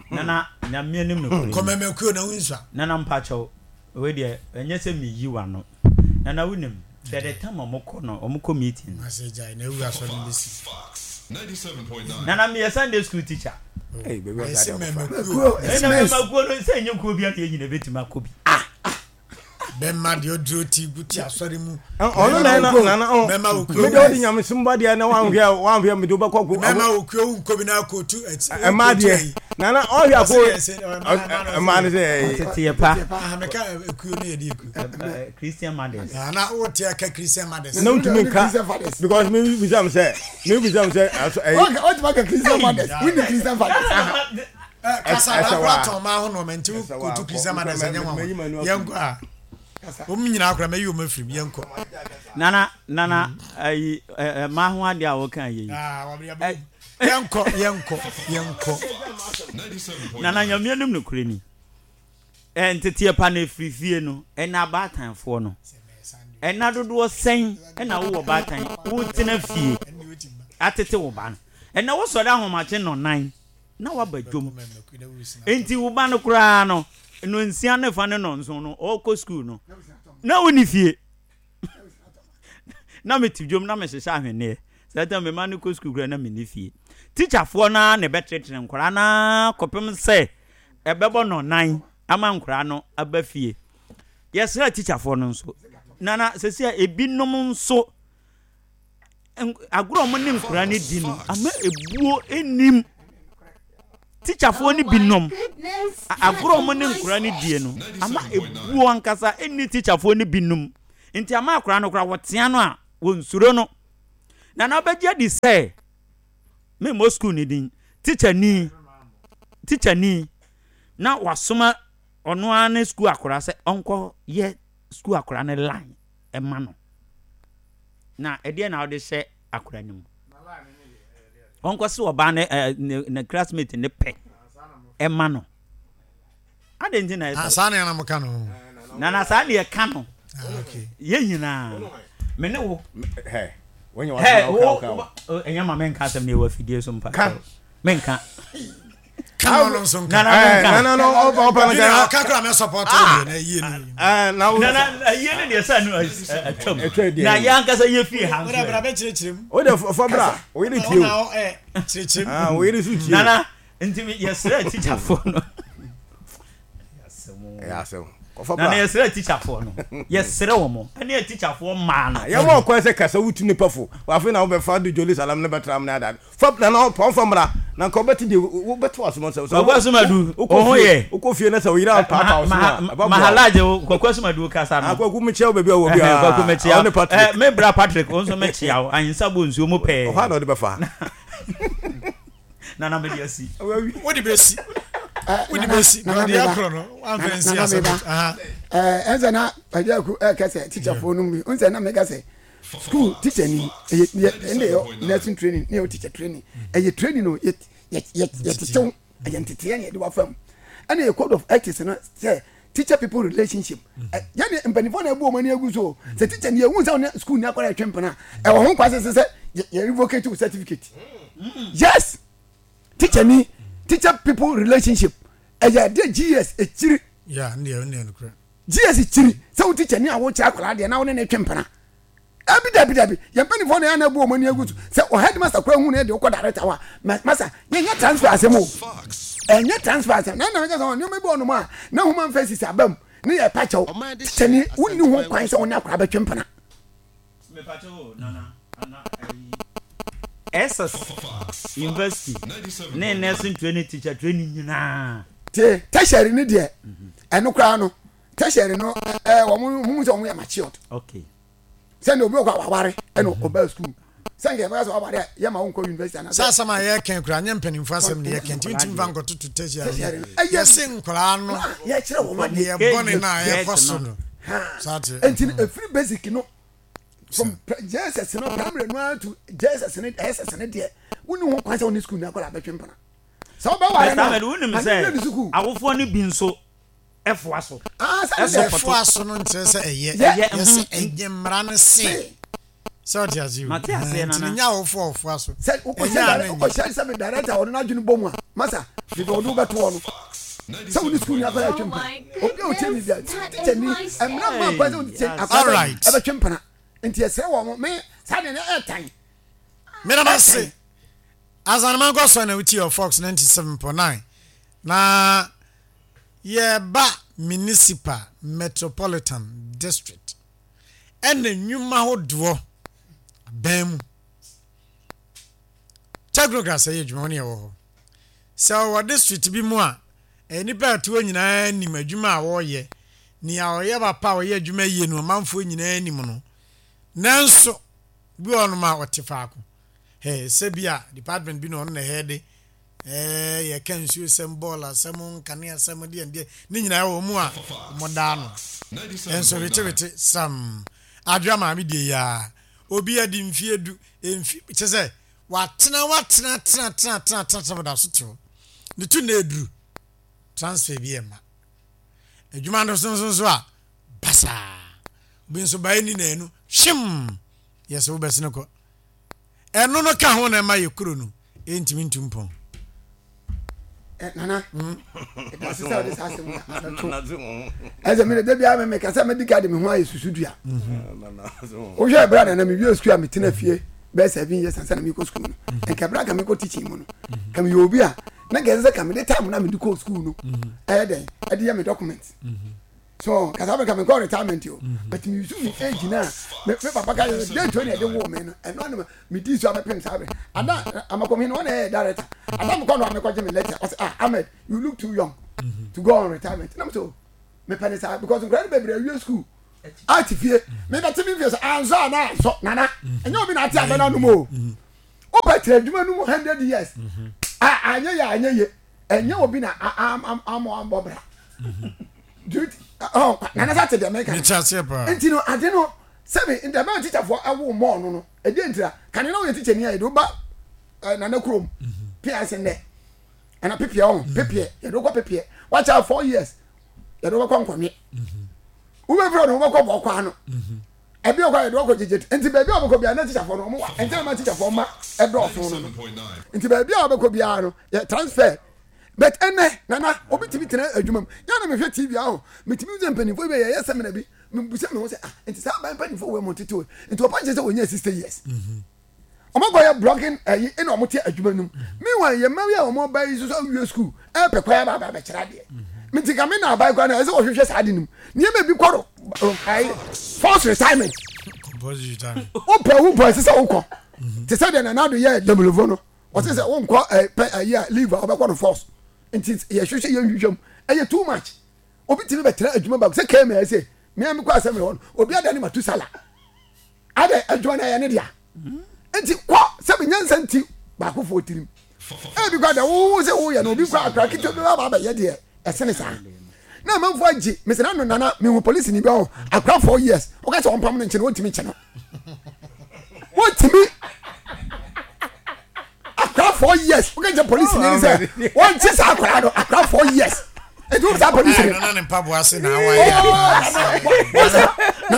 Nana nyame anim nokorɛ. Kɔ mɛmɛkuo na wonsua. Nana mpakyɛw wei deɛ ɛnyɛ sɛ meyi w'ano. Nana wonim hwɛ the time a wɔkɔ no wɔkɔ meeting no. Mase gyae na awu asɔre no bɛsi. Nana meyɛ Sunday school teacher. Ɛsɛ mɛmɛkuo. Ɛna mɛmɛkuo no sɛ ɛnyɛ kuo bi a na yɛn nyina bɛtumi akɔ bi. Ah bɛma deɛ ɔduro ti gu ti asɔre mu. Ɔno na ɛna nana ɔ bɛma okuo. Mede ɔde nyamesom ba deɛ na wanhwɛ wanhwɛ mede wobɛkɔ ko. Bɛma okuo wo nkɔ bi na akɔtu. Ɛma deɛ nana ɔhwɛ ako ɛma no sɛ ɛyɛ. Teteɛ pa. Meka ekuo no yɛ de ekuo. Christian mothers. Na wote aka Christian mothers. Na wontumi nka because me bisa m sɛ me bisa m sɛ aso ɛyɛ. Ɔtumi aka Christian mothers. Wonni Christian fathers. Kasa na akora tɔn maa ho nɔɔma nti wokotu Christian mothers ɛnyɛ nwanwa. Yɛnkɔ a. Wɔn nyinaa akora mɛyi wɔn afiri mu yɛnkɔ. Nana nana ayi ɛmaa ho adeɛ a wɔka yɛ yi. Yɛnkɔ yɛnkɔ yɛnkɔ. Nana nyame anim nokorɛ ni. Nteteɛ pa no ɛfiri fie no ɛna abaatanfoɔ no ɛna dodoɔ sɛn ɛna wowɔ baatan wotena fie atete wo ba no ɛna wosɔre ahomakye nnɔnan na waba dwom enti wo ba no koraa no nnɔnsia ne fa ne nnɔnson no ɔrekɔ sukuu no na wonni fie na mete dwom na mehyehyɛ ahwenneɛ saa tam me ma no kɔ sukuu koraa na menni fie tikyafoɔ no ara na ɛbɛtenetene nkwadaa no ara kɔpem sɛ ɛbɛbɔ nnɔnnan ama nkwadaa no aba fie. Yɛsrɛ tikyafoɔ no nso, nana sɛsi a ebinom nso agorɔ a wɔne nkwadaa no di no ama ebuo nnim. Tikyafoɔ no binom, agorɔ a wɔne nkwadaa no die no, ama ebuo ankasa nni tikyafoɔ no binom. Nti ama akwadaa no koraa wɔtea no a, wɔnsuro no. Na na wobɛgye adi sɛ, memmɔ sukuu no din, tikyani, tikyani na wasoma ɔno ara ne sukuu akwadaa sɛ ɔnkɔyɛ sukuu akwadaa no line ma no. Na ɛdeɛ na wode hyɛ akwadaa no mu? Ɔnkɔ se ɔbaa ne ɛɛ ne ne classmate ne pɛ ɛma no. Adɛn nti na ɛsɛ? Ah, saa na yɛn ka no. Na na saa na yɛka no. Ah, okay. Yɛn nyinaa. Me ne wo. Hɛ. Wɔnyɛ wɔn wo wo. Ɛnyɛ ma menka asɛm na ɛwɔ afidie so mpa. Ka. Menka. Ka no nso nka. Nana menka. Nana no ɔpa ɔpa no ka. Ɔka kura mɛ support o na yie no. Ɛɛ na wo. Nana yie no deɛ sɛ no atwam. Na yɛn ankasa yɛ fie ha nso. Bra bra bɛ kyerɛkyerɛ mu. O de fɔ bra o yere tie o. Kyerɛkyerɛ mu. Ah o yere so tie o. Nana nti yɛsrɛ tikyafoɔ no. Ɛyɛ asɛm. Kɔfɔ bra. Nana yɛsrɛ tikyafoɔ no. Yɛsrɛ wɔn. Ɛne yɛ tikyafoɔ mmaa no. Yɛn mo ɔkwan sɛ kasa wutu nipa fo. Afei na wobɛfa de joli salam ne bɛtra mu ne adade. Fa na na ɔpɔn fa mmra na nka wobɛte deɛ wobɛte w'asom nsɛm. Kwaku Asumadu wo ho yɛ. Wokɔ fie na sɛ wo yere ampaapa wo so a ɛbɛboa wo. Mahalaje Kwaku Asumadu kasa no. Ah Kwaku mekyia wo baabi a wɔ biara. Kwaku mekyia wo. Patrick. Me bra Patrick wo nso mekyia wo. Ahensa bɔ nsuo mu pɛɛ. Ɔhɔ a na ɔde bɛfa. Nana mede asi. Wode bɛsi. Wode bɛsi. Brɔdeɛ akorɔ no wamfa nsi asɛm. Ɛnsɛ na Pajaku ɛkɛ sɛ teacherfoɔ no mu bi. Nsɛ na meka sɛ school teacher ni ɛyɛ yɛ ɛnna yɛ nursing training ne yɛ teacher training ɛyɛ training no yɛ yɛ yɛ yɛ tetew ɛyɛ nteteɛ na yɛde wafa mu ɛna yɛ code of ethics no sɛ teacher people relationship ɛ yɛne mpanimfoɔ na ɛbu wɔn ani agu so sɛ teacher ni ehu sɛ ɔne school ni akɔla ɛtwe mpena ɛwɔ ho kwase sɛ sɛ yɛ yɛ revocate wo certificate yes teacher ni teacher people relationship ɛyɛ ɛdeɛ G S ekyiri Yeah, ndeɛ ndeɛ no kura. G S kyiri sɛ wo teacher ni a wokyerɛ akwadaa deɛ na wo ne ne twe mpena. Dabi dabi dabi yɛn mpanyinfoɔ na yɛn na ebu wɔn ani agu so sɛ ɔ headmaster kura hu na yɛ de ɔkɔ director hɔ a masa yɛn nyɛ transfer asɛm o ɛnyɛ transfer asɛm na ɛna mɛka sɛ nneɛma bi wɔ nom a na human faces aba mu ne yɛ pa kyɛw teacher ni wonni ho kwan sɛ wɔne akwadaa bɛtwe mpena. S S University ne nursing training teacher training nyinaa. Tie tertiary ni deɛ ɛno koraa no tertiary no ɛɛ wɔn hu sɛ wɔn yɛ matured. Okay. Sɛnea obi wɔ kɔ awaware ɛna ɔbaa sukuu sɛnea yɛbɛka sɛ waware a yɛma wo nkɔ university anaa. Sɛ asɛm a yɛka kura nyɛ mpanimfoɔ asɛm ne yɛka nti ntumi fa nkɔtoto tertiary yɛse nkoraa no yɛkyerɛ wɔn adeɛ yɛbɔne no a yɛkɔ so no. Nti efiri basic no from J S S no primary no to J S S ne S S ne deɛ wonni ho kwan sɛ wone sukuu ni akɔla abɛtwe mpena sɛ wobɛware no wonim sɛ awofoɔ no bi nso ɛfoa so. Ɛfoa so no nkyerɛ sɛ ɛyɛ yɛsɛ ɛnyɛ mmara no se sɛ ɔte ase o nti ne nya awofoɔ ɔfoa so. Sɛ wokɔhyɛ sɛ me director ɔno n'adwene bɔ mu a masa bebe ɔde wobɛtoɔ no sɛ wone sukuu ni akɔla ɛtwe mpena obi a ɔtie mi bia teacher ni mmara mma kwan sɛ wone teacher akɔla ɛbɛtwe mpena nti ɛsrɛ wɔ mo me saa deɛ no ɛɛtan. Mena se Asanema nkɔ so na wotie wɔ Fox ninety-seven point nine na yɛba Municipal Metropolitan District ɛna nnwuma hodoɔ abɛn mu technocrats ɛyɛ adwuma wɔn yɛ wɔ hɔ sɛ ɔwɔ district bi mu a nnipa a ɛtoɔ nyinaa nim adwuma a wɔreyɛ nea ɔyɛ papa a ɔyɛ adwuma yie no ɔmanfoɔ nyinaa nim no nanso bi wɔ nom a ɔte faako hɛ sɛ bi a department bi na ɔno na ɛhɛ de ɛɛ yɛka nsuo sɛm bɔɔl asɛm nkanea asɛm deɛ deɛ ne nyinaa wɔ mu a wɔn no nso wetewete sam adwa maame deɛ yaa obi adi mfie du mfi kyɛ sɛ watena watena tena tena tena tena tena da so te hɔ ne tu na eduru transfer bi ɛma adwuma no so nso nso a basaa obi nso baa ni na enu hwim yɛsɛ wobɛsene kɔ ɛno no ka ho na ɛma yɛ kuro no ɛntumi ntu mpɔn. Nana ɛdase sɛ wode saa asɛm abɛto ɛsɛ mede da biara memeka sɛ mede ka de me ho ayɛ susudua wohwɛ ɛberɛ a nana mewie sukuu a metena fie bɛyɛ seven years ansa na mekɔ sukuu no nka ɛberɛ a ka mekɔ teaching mu no ka meyɛ obi a na nka ɛsɛ sɛ ka mede time na mede kɔ sukuu no ɛyɛ dɛn ɛde yɛ me document So kasa bɛ ka me nkɔ retirement o. But me use me age na me me papa ka yɛ date o na ɛde wo me no. Ɛno anam me di so abɛpem saa bɛ. Ada amakom hin no na ɛyɛ director. Ada me kɔ no a me kɔ gye me letter. Ɔsɛ ah Ahmed you look too young to go on retirement. Na me so me pɛ ne saa because nkura no bebree awie school. Ati fie. Me bɛte me fie so ansɔ ana ansɔ nana. Ɛnyɛ obi na ate abɛ na nom o. Wopɛ tena adwuma no mu hundred years. A anyɛ yɛ anyɛ ye. Ɛnyɛ obi na amɔ ambɔ bra. Nana sɛ te deɛ meka nti no ade no sɛbi ndɛmɛ tikyafoɔ ɛwo mɔɔ no no ɛdeɛ ntira kane na woyɛ tikyani a yɛde woba nana kurom pia ase nnɛ ɛna pepeɛ ɔho pepeɛ yɛde wokɔ pepeɛ wakyɛ four years yɛde wobɛkɔ nkɔnwe wobɛfrɛ no wobɛkɔ bɔkɔ ano ɛbi ɔkɔ yɛde wɔkɔ gyegye nti baabi a wɔbɛkɔ biara na tikyafoɔ no wɔn wa nti na ma tikyafoɔ ma ɛdɔɔso no no nti baabi a wɔbɛkɔ biara no yɛ transfer. But ɛnɛ nana obi tumi tena adwuma mu yɛn na mehwɛ T V aho metumi sɛ mpanimfoɔ bi yɛyɛ seminar bi mebusa me ho sɛ ah nti saa aban mpanimfoɔ wɔ mu tete o nti ɔpa nkyɛn sɛ wɔnyɛ sixty years wɔn akɔ yɛ blogging ɛyi ɛna wɔn te adwuma no mu meanwhile yɛn mma yi a wɔn aba yi nso awie school ɛpɛ kwan aba aba abɛkyerɛ adeɛ nti kame na aban kwan na ɛsɛ wɔhwehwɛ saa ade no mu nneɛma bi kɔ do ɛyi force retirement wopɛ wo mpɔ ɛsɛ sɛ wokɔ te sɛ deɛ Nana Addo yɛ Demulovo no. Ɔsɛ sɛ wonkɔ ɛ pɛ ayi a leave a ɔbɛkɔ no force nti yɛhwehwɛ yɛnhwehwɛ mu ɛyɛ too much obi tumi bɛtena adwuma baako sɛ kɛmɛ ɛsɛ mmea mi kɔ asɛm hɔ no obi ada ne ma tu sala adɛ adwuma no ɛyɛ ne dea nti kɔ sɛ bi nyansa nti baako fo tirim ebi kɔ adɛ wo sɛ woyɛ no obi kɔ akora ketewa bi ba abɛyɛ deɛ ɛsene saa na amanfo agye mesɛ na nana mehu polisi ni bi ɔho akora four years ɔka sɛ ɔmpam no nkyɛn wɔntumi nkyɛ no wɔntumi akora four years wɔka kyɛ polisi ni sɛ wɔnkye saa akora no akora four years etu wɔn saa polisi ni. Nana ne mpaboa ase na awa yɛ.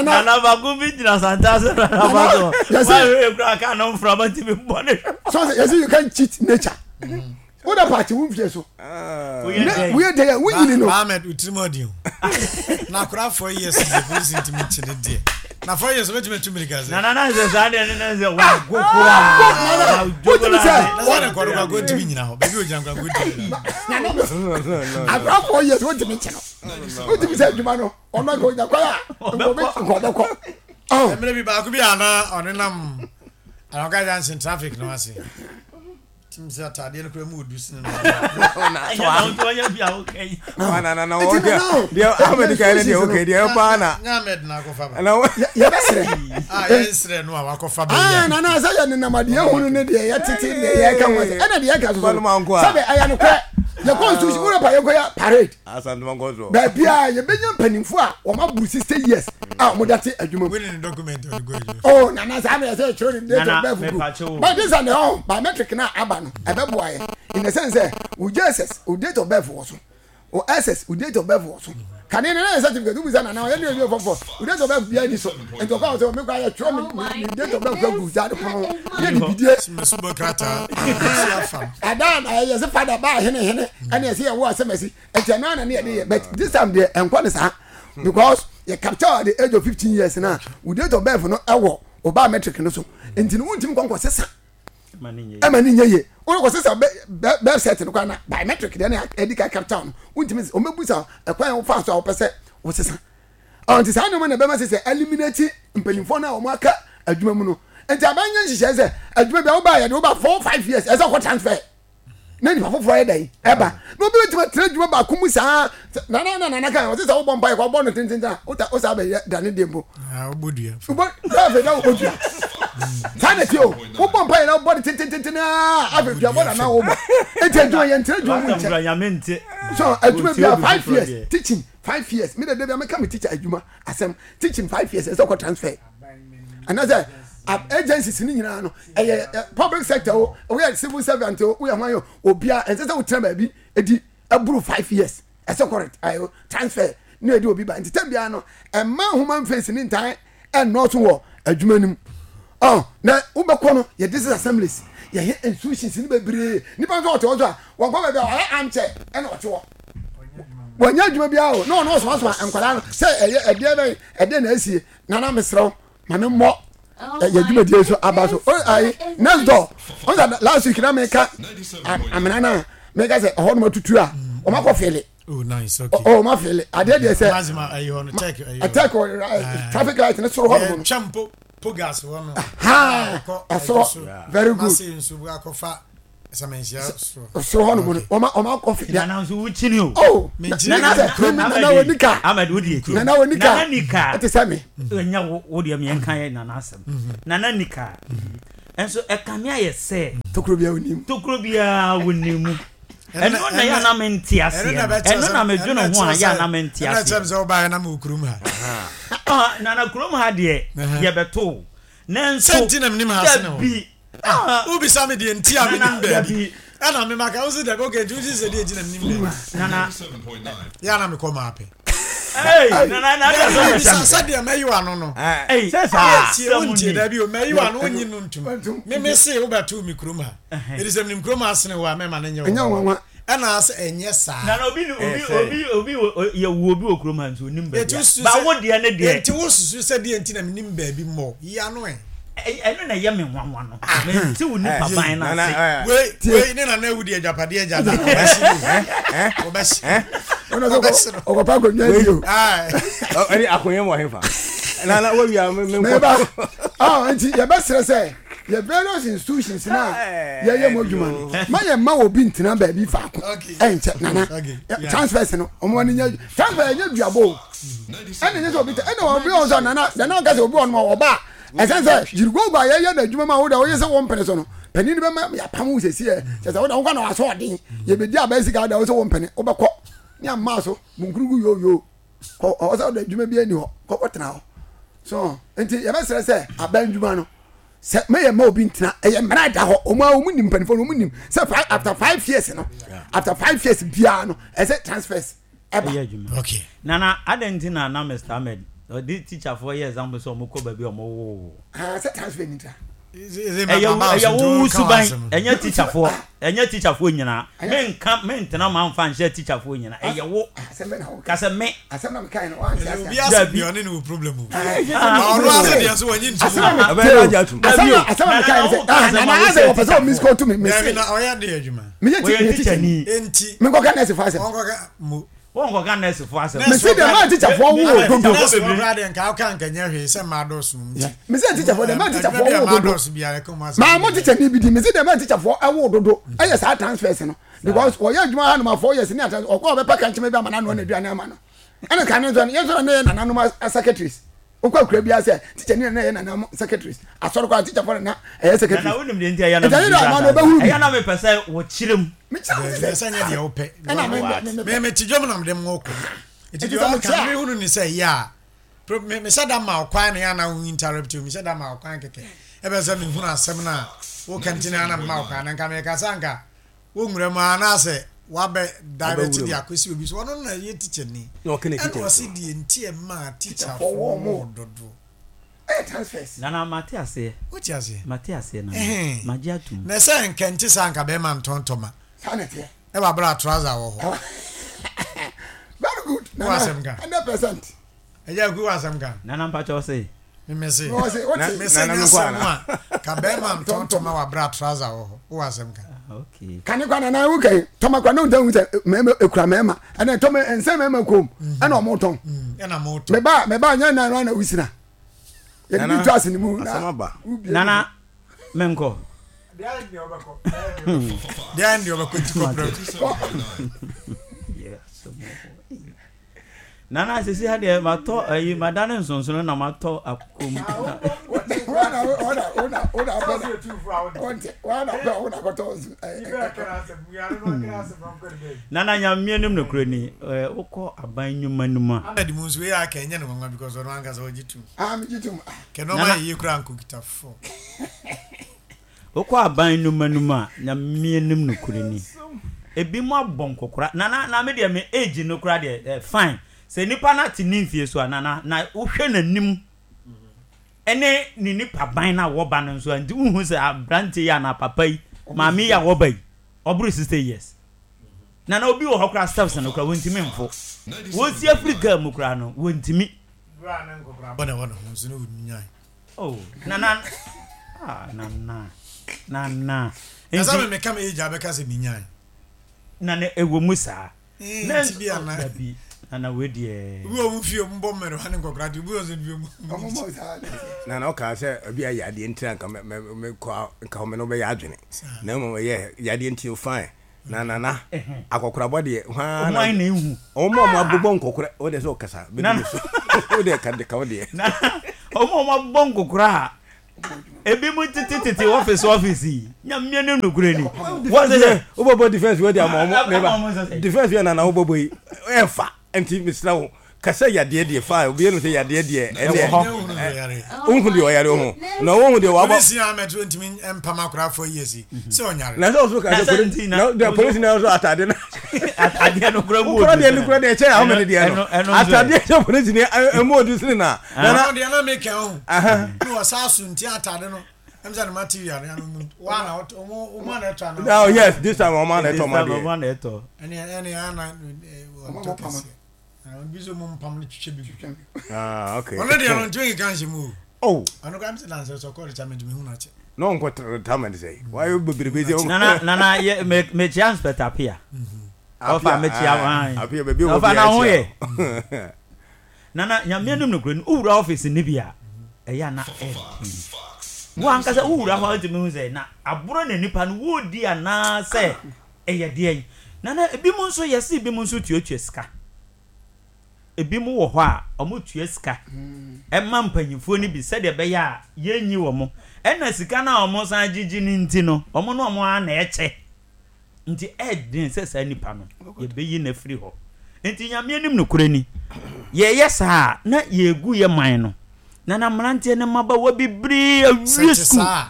Nana baako bi gyina santa ase na nana so wɔn ahwɛ ekura kaa no nframa ti mi bɔ ne. So yɛsi you can cheat nature. Wo da paati wo nfie so. Woyɛ dɛ yɛ wonyini no. Ahmed utirim ɔdi o. Na akora four years deɛ polisi ntumi nkye ne deɛ. Na four years obetumi atu mirika sɛ. Nana na sɛ saa deɛ ne na sɛ wago koraa. Wotumi sɛ. Na sɛ ne kɔdo kwago ntumi nyina hɔ. Baabi ogyina kwago ntumi nyina. Nana akora four years wotumi nkye no. Wotumi sɛ adwuma no ɔno nka onya kwan a nka ɔbɛkɔ. Mmerɛ bi baako bi a na ɔnenam Anɔka junction traffic no ase. Tim sɛ ataadeɛ no kura mu odu sene no. Yɛbɛserɛ no a wakɔfa bɛyɛ. Nana sɛ yɛ nenam adeɛ hunu ne deɛ yɛtete deɛ yɛka ho asɛ ɛna deɛ yɛka so sɛbe ɛyɛ nokorɛ yɛ constitution wura pa yɛnkɔ yɛ parade baabi a yɛbɛnya mpanimfoɔ a wɔn aburu sixty years a wɔn da te adwuma mu. Oh nana saa na yɛsɛ yɛtwerɛ ne date of birth gu but this and oh biometric na aba no ɛbɛboa yɛ in the sense sɛ wo J S S wo date of birth wɔ so wo S S wo date of birth wɔ so kane no na yɛ certificate wobisa nana ɔyɛ ne ɛwie fɔfɔ wo date of birth biara ni so nti ɔkɔ a sɛ mekɔ ayɛ twerɛ me me date of birth gu gya de pono yɛ ne bidie ɛda na ɛyɛ sɛ fada baa hene hene ɛne ɛsɛ yɛwo asɛm asi nti ɛno ana ne yɛde yɛ but this time deɛ ɛnkɔ ne saa because yɛ capture at the age of fifteen years na wo date of birth no ɛwɔ o biometric no so nti no wontumi nkɔ nkɔ sesa ɛma ne nyɛ yie wɔn kɔ sesa birth cert no kora na biometric deɛ na ɛdi ka capture no wontumi wɔn bɛ busa ɛkwan a wofa so a wɔpɛ sɛ wɔsesa ɔn nti saa nneɛma na ɛbɛma sɛ sɛ eliminate mpanyinfoɔ no a wɔn aka adwuma mu no nti aban nyɛ nhyehyɛ sɛ adwuma bi a woba yɛ de woba four five years ɛsɛ ɔkɔ transfer na nipa foforɔ yɛ dɛn ɛba na obi bɛtumi atena adwuma baako mu saa nana na nana kan ɔsɛ sɛ wobɔ mpa yɛ kɔ ɔbɔ no tententen a wota wosa bɛyɛ dane deɛ mpo wobɔ dua wobɔ afei na wobɔ dua saa na ti o wobɔ mpa yɛ na wobɔ no tententen aa afei dua bɔ nana wobɔ eti adwuma yɛn tena adwuma mu nkyɛn so adwuma bi a five years teaching five years mi de de bi a meka mi teacher adwuma asɛm teaching five years ɛsɛ ɔkɔ transfer anaasɛ agencies ni nyinaa no ɛyɛ public sector o woyɛ civil servant o woyɛ hwan o obia ɛnsɛ sɛ wotena baabi edi ɛburu five years ɛsɛ kɔ ɛyɛ transfer ne ɛdi obi ba nti tɛm biara no ɛma human face ne ntan ɛnɔɔso wɔ adwuma no mu ɔn na wobɛkɔ no yɛ district assemblies yɛyɛ institutions ne bebree nipa nso ɔte hɔ so a wɔnkɔ baabi a ɔyɛ armchair ɛna ɔte hɔ wɔnyɛ adwuma biara o na ɔno ɔsomasoma nkwadaa no sɛ ɛyɛ ɛdeɛ bɛn ɛdeɛ na asie nana mesrɛ wo ma me mmɔ yɛ dwumadie so aba so o ayi next door ɔn sɛ last week na meka amena na meka sɛ ɛhɔ nom atutu a wɔn akɔ fele Oh, nice. Okay. Oh, ma fele. Adeɛ deɛ sɛ. Mazima ayi hɔ no check ayi hɔ. Check wɔ traffic light ne soro hɔ no. Twɛm po po gas hɔ no. Ha. Ɛsoro. Very good. Mase nso bu akɔfa sɛmɛnhyia soro. Soro hɔ nom no. Ɔma ɔma akɔ fi. Nana nso wukyini o. Oh. Nana nana wɔ nika. Ahmed wo di ekyi. Nana wɔ nika. Nana nika. Ɛte sɛ mi. Ɛnya wo wo deɛ mi nka yɛ nana asɛm. Nana nika. Nso ɛkame ayɛ sɛ. Tokuro biara wɔ nim. Tokuro biara wɔ nim. Ɛno na yɛ anam nte aseɛ no. Ɛno na medwene ho a yɛ anam nte aseɛ. Ɛna kyerɛ sɛ wobaeɛ na mewɔ kurom ha. Ah, nana kurom ha deɛ yɛbɛto. Nanso sɛ nti na menim ha sene wo. Dabi. Wobisa me deɛ nti a menim baabi. Ɛna memaka wo sɛ dabi okay nti wosi sɛ deɛ nti na menim baabi. Nana. Yɛ ana mekɔ maapɛ. Hey, nana na ada sɛ bisa sɛdeɛ mɛyi w'ano no. Hey, sɛ saa. Tie wontie dabi o mɛyi w'ano wonyi no ntum. Meme se wobɛto me kurom ha. Ɛdi sɛ menim kurom ha sene wo a mɛma no nyɛ wo. Ɛna sɛ ɛnyɛ saa. Nana obi obi obi obi yɛ wo obi wɔ kurom ha nso onim baabi. Ba wo deɛ ne deɛ. Enti wo susu sɛ deɛ nti na menim baabi mmɔ. Yi ano ɛ. Ɛno na ɛyɛ me nwanwa no. Mente wo nipa ban no ase. Wei wei ne nana ewu deɛ agyapadeɛ agya na ɔbɛsi ɔbɛsi ɔbɛsi no. Ɔkɔpa akonnwa bi o. Ɛne akonnwa mu ɔhefa. Nana wawia me me nkɔ. Ah nti yɛbɛsrɛ sɛ yɛ various institutions na yɛyɛ mu adwuma no ma yɛ mma obi ntena baabi faako ɛnkyɛ nana transfers no ɔmo ani nyɛ transfer ɛnyɛ duabɔ o ɛna nyɛ sɛ obi tɛ ɛna obi wɔn sɛ nana nana ɔka sɛ obi wɔn ɔba ɛsɛn sɛ yirigogo a yɛyɛ n'adwuma ma wo da woyɛ sɛ wɔn mpene so no panin no bɛma yɛapam wo sɛsi ɛ kyɛ sɛ woda wokɔ na wasɔ ɔden yɛbɛdi abɛn sika da wo sɛ wo mpene wobɛkɔ ne amma so munkurugu yoyo kɔ ɔwɔ sɛ woda adwuma bi ani hɔ kɔkɔtena hɔ so nti yɛbɛsrɛ sɛ abɛn adwuma no sɛ mɛyɛ ma obi ntena ɛyɛ mmara da hɔ ɔmo a ɔmo nim mpanimfoɔ no ɔmo nim sɛ five after five years no after five years biara no ɛsɛ transfers ɛba. Okay. Nana adan ti na na Mister Ahmed ɔde teacherfoɔ yɛ example sɛ ɔmo kɔ baabi a ɔmo wo. Ah, sɛ transfer ni ta. Ɛyɛ ɛyɛ wo suban ɛnyɛ teacherfoɔ ɛnyɛ teacherfoɔ nyinaa menka mentena ma nfa nhyɛ teacherfoɔ nyinaa ɛyɛ wo kasɛ me. Asɛm na meka no wan ase. Obi ase bi ɔne ne wo problem o. Ɔno ase deɛ so wɔnyi ntu. Asɛm na asɛm na meka sɛ ah na na asɛ wɔpɛ sɛ ɔmis kɔtu me mese. Dabi na ɔyɛ de adwuma. Meyɛ teacher ni. Enti. Menkɔka nurse fo asɛm. Ɔnkɔka mo. Wɔnkɔka nurse fo asɛm. Mese deɛ maa teacher fo wo dodo. Nurse fo koraa deɛ nka woka nka nyɛ hwee sɛ mmaa dɔɔso mu nti. Mese teacher fo deɛ maa teacher fo wo dodo. Maa mo teacher ni bi di mese deɛ maa teacher fo wo dodo ɛyɛ saa transfers no because wɔyɛ adwuma ha nom four years ne ata ɔkɔ ɔbɛpa kankyɛn bi ama n'ano na aduane ama no ɛna kan nso yɛn nso na yɛ nananom secretaries okɔ akura bi asɛ teacher ni na yɛ nananom secretaries asɔre kɔ teacher fo na ɛyɛ secretaries. Nana wonim deɛ nti ɛyɛ na mi ɛyɛ na mi pɛ sɛ wɔkyerɛ mu. Mi kyerɛ mu sɛ sɛ nyɛ deɛ wopɛ. Ɛna mi mi ti dwom na mi de mu kɔ. Eti deɛ ɔka mi hunu ni sɛ yɛ a mi mi hyɛ da ma ɔkwan na yɛ ana wo interrupt mi hyɛ da ma ɔkwan kɛkɛ ɛbɛ sɛ mi hunu asɛm na wo kɛntɛn ana mi ma ɔkwan na nka mi kasa nka wo nwura mu anaasɛ wabɛ direct de akosi obi so ɔno na yɛ teacher ni ɛna ɔsi deɛ nti ɛma teacher fo wɔn dodo. Ɛyɛ transfers. Nana mate aseɛ. Wote aseɛ. Mate aseɛ nana. Magye atum. Na sɛ nkɛnte saa nka bɛrima ntɔntɔma. Saa na ɛteɛ. Ɛwɔ abira trouser wɔ hɔ. Very good. Wɔ asɛm ka. Hundred percent. Ɛyɛ ku wɔ asɛm ka. Nana mpakyɛ ɔse. Mese mese nyɛ asɛm a ka bɛrima ntɔntɔma wɔ abira trouser wɔ hɔ. Wɔ asɛm ka. Okay. Kane kwa nana wo kai tɔma kwa no ntan sɛ mɛma ekura mɛma ɛna tɔma nsɛm mɛma kom ɛna ɔmo tɔn. Ɛna mo tɔn. Mɛba mɛba nyɛ nan na wusina. Yɛde bi to ase ne mu na nana menkɔ. Deɛ deɛ ɔbɛkɔ ti kɔpere. Nana sisi ha deɛ matɔ ayi madane nsonsono na matɔ akom. Nana nyamie nim no kure ni wokɔ aban nnwuma no mu a. Ahmed mu nso yɛ aka ɛnyɛ ne nwanwa because ɔno ankasa ɔgye tum. Ah megye tum. Kɛ nɔɔma yɛ yie kura nkokita fo. Wokɔ aban nnwuma no mu a nyamie nim no kure ni. Ebi mu abɔ nkokora nana na me deɛ me age no kura deɛ fine. Sɛ nipa na te ne mfie so a nana na wohwɛ n'anim ɛne ne nipa ban na wɔba no nso a nti wohu sɛ aberante yi anaa papa yi maame yi a wɔba yi ɔboro sixty years nana obi wɔ hɔ koraa steps no koraa wɔntumi mfo wɔsi afiri kaa mu koraa no wɔntumi. Oh nana ah nana nana. Nti mi meka mi age abɛka sɛ mi nyan. Nana ɛwɔ mu saa. Na nti bi ana. Dabi nana wei deɛ. Obi wɔ mu fie ɔmo bɔ mmerewa ne nkɔkora de obi wɔ nso fie ɔmo. Ɔmo bɔ saa na ɛteɛ. Nana ɔkaa sɛ ebi a yadeɛ nti anka mɛ mɛ mɛ kɔ nka ɔmo ne wobɛyɛ adwene na mmom ɛyɛ yadeɛ nti o fine na nana akɔkorabɔ deɛ hwan na ehu ɔmo a ɔmo abobɔ nkɔkora o deɛ sɛ ɔkasa bɛdi mi so o deɛ ka de ka o deɛ. Na ɔmo a ɔmo abobɔ nkɔkora a ebi mu tete tete ɔfisi ɔfisi yi nyamia ne nukure ni. Wɔn sɛ wobɛbɔ defense wei de ama ɔmo meba defense wei nana wobɛbɔ yi ɛfa nti mesrɛ wo kasa yadeɛ deɛ fa obi yɛn sɛ yadeɛ deɛ ɛdeɛ wohu deɛ ɔyare ho na wohu deɛ wabɔ. Polisi ahmed so ntumi mpam akora four years yi sɛ ɔnyare. Na sɛ ɔso ka sɛ polisi na deɛ polisi na ɔso atade na atadeɛ no kura mu kura deɛ no kura deɛ kyɛn ahmed deɛ no atadeɛ kyɛ polisi ni ɛmu odi sini na. Nana deɛ na mi kɛn o ne wɔ saa so nti atade no ɛmu sɛ ne material no mu wa na ɔmo ɔmo ana ɛtɔ ana. Oh yes, this time ɔmo ana ɛtɔ ɔmo adeɛ. Ɔmo ana ɛtɔ. Ɛne ɛne ana ɔmo kɛseɛ. Bi so mo mpam no twitwa bi. Ah okay. Ɔno deɛ no ntumi nka nhyɛ mu o. Oh. Ɔno kora mi sɛ dansɛ sɛ ɔkɔ retirement mi hu n'akyɛ. Na ɔnkɔ retirement sɛ wayɛ bebrebe sɛ. Nana nana yɛ me mekyia Inspector Apia. Ɔfa mekyia wan. Apia baabi wɔ Ɔfa bi na ho akyia. yɛ. Nana nyame anim no kura ni wowura office ni bi a ɛyɛ ana ɛden. Wo ankasa wowura hɔ a wotumi hu sɛ na aboro na nipa no wodi anaasɛ ɛyɛ deɛn. Nana ebi mu nso yɛse ebi mu nso tuatua sika. Ebi mu wɔ hɔ a ɔmo tua sika ɛma mpanyinfoɔ no bi sɛdeɛ ɛbɛyɛ a yɛnyi wɔn. Ɛna sika no a ɔmo san gyegye no nti no ɔmo ne ɔmo ara na ɛkyɛ. Nti ɛden sɛ saa nipa no yɛbɛyi no afiri hɔ. Nti nyame anim nokorɛ ni yɛyɛ saa na yɛgu yɛ man no. Nana mmeranteɛ ne mmabaawa bebree awie sukuu.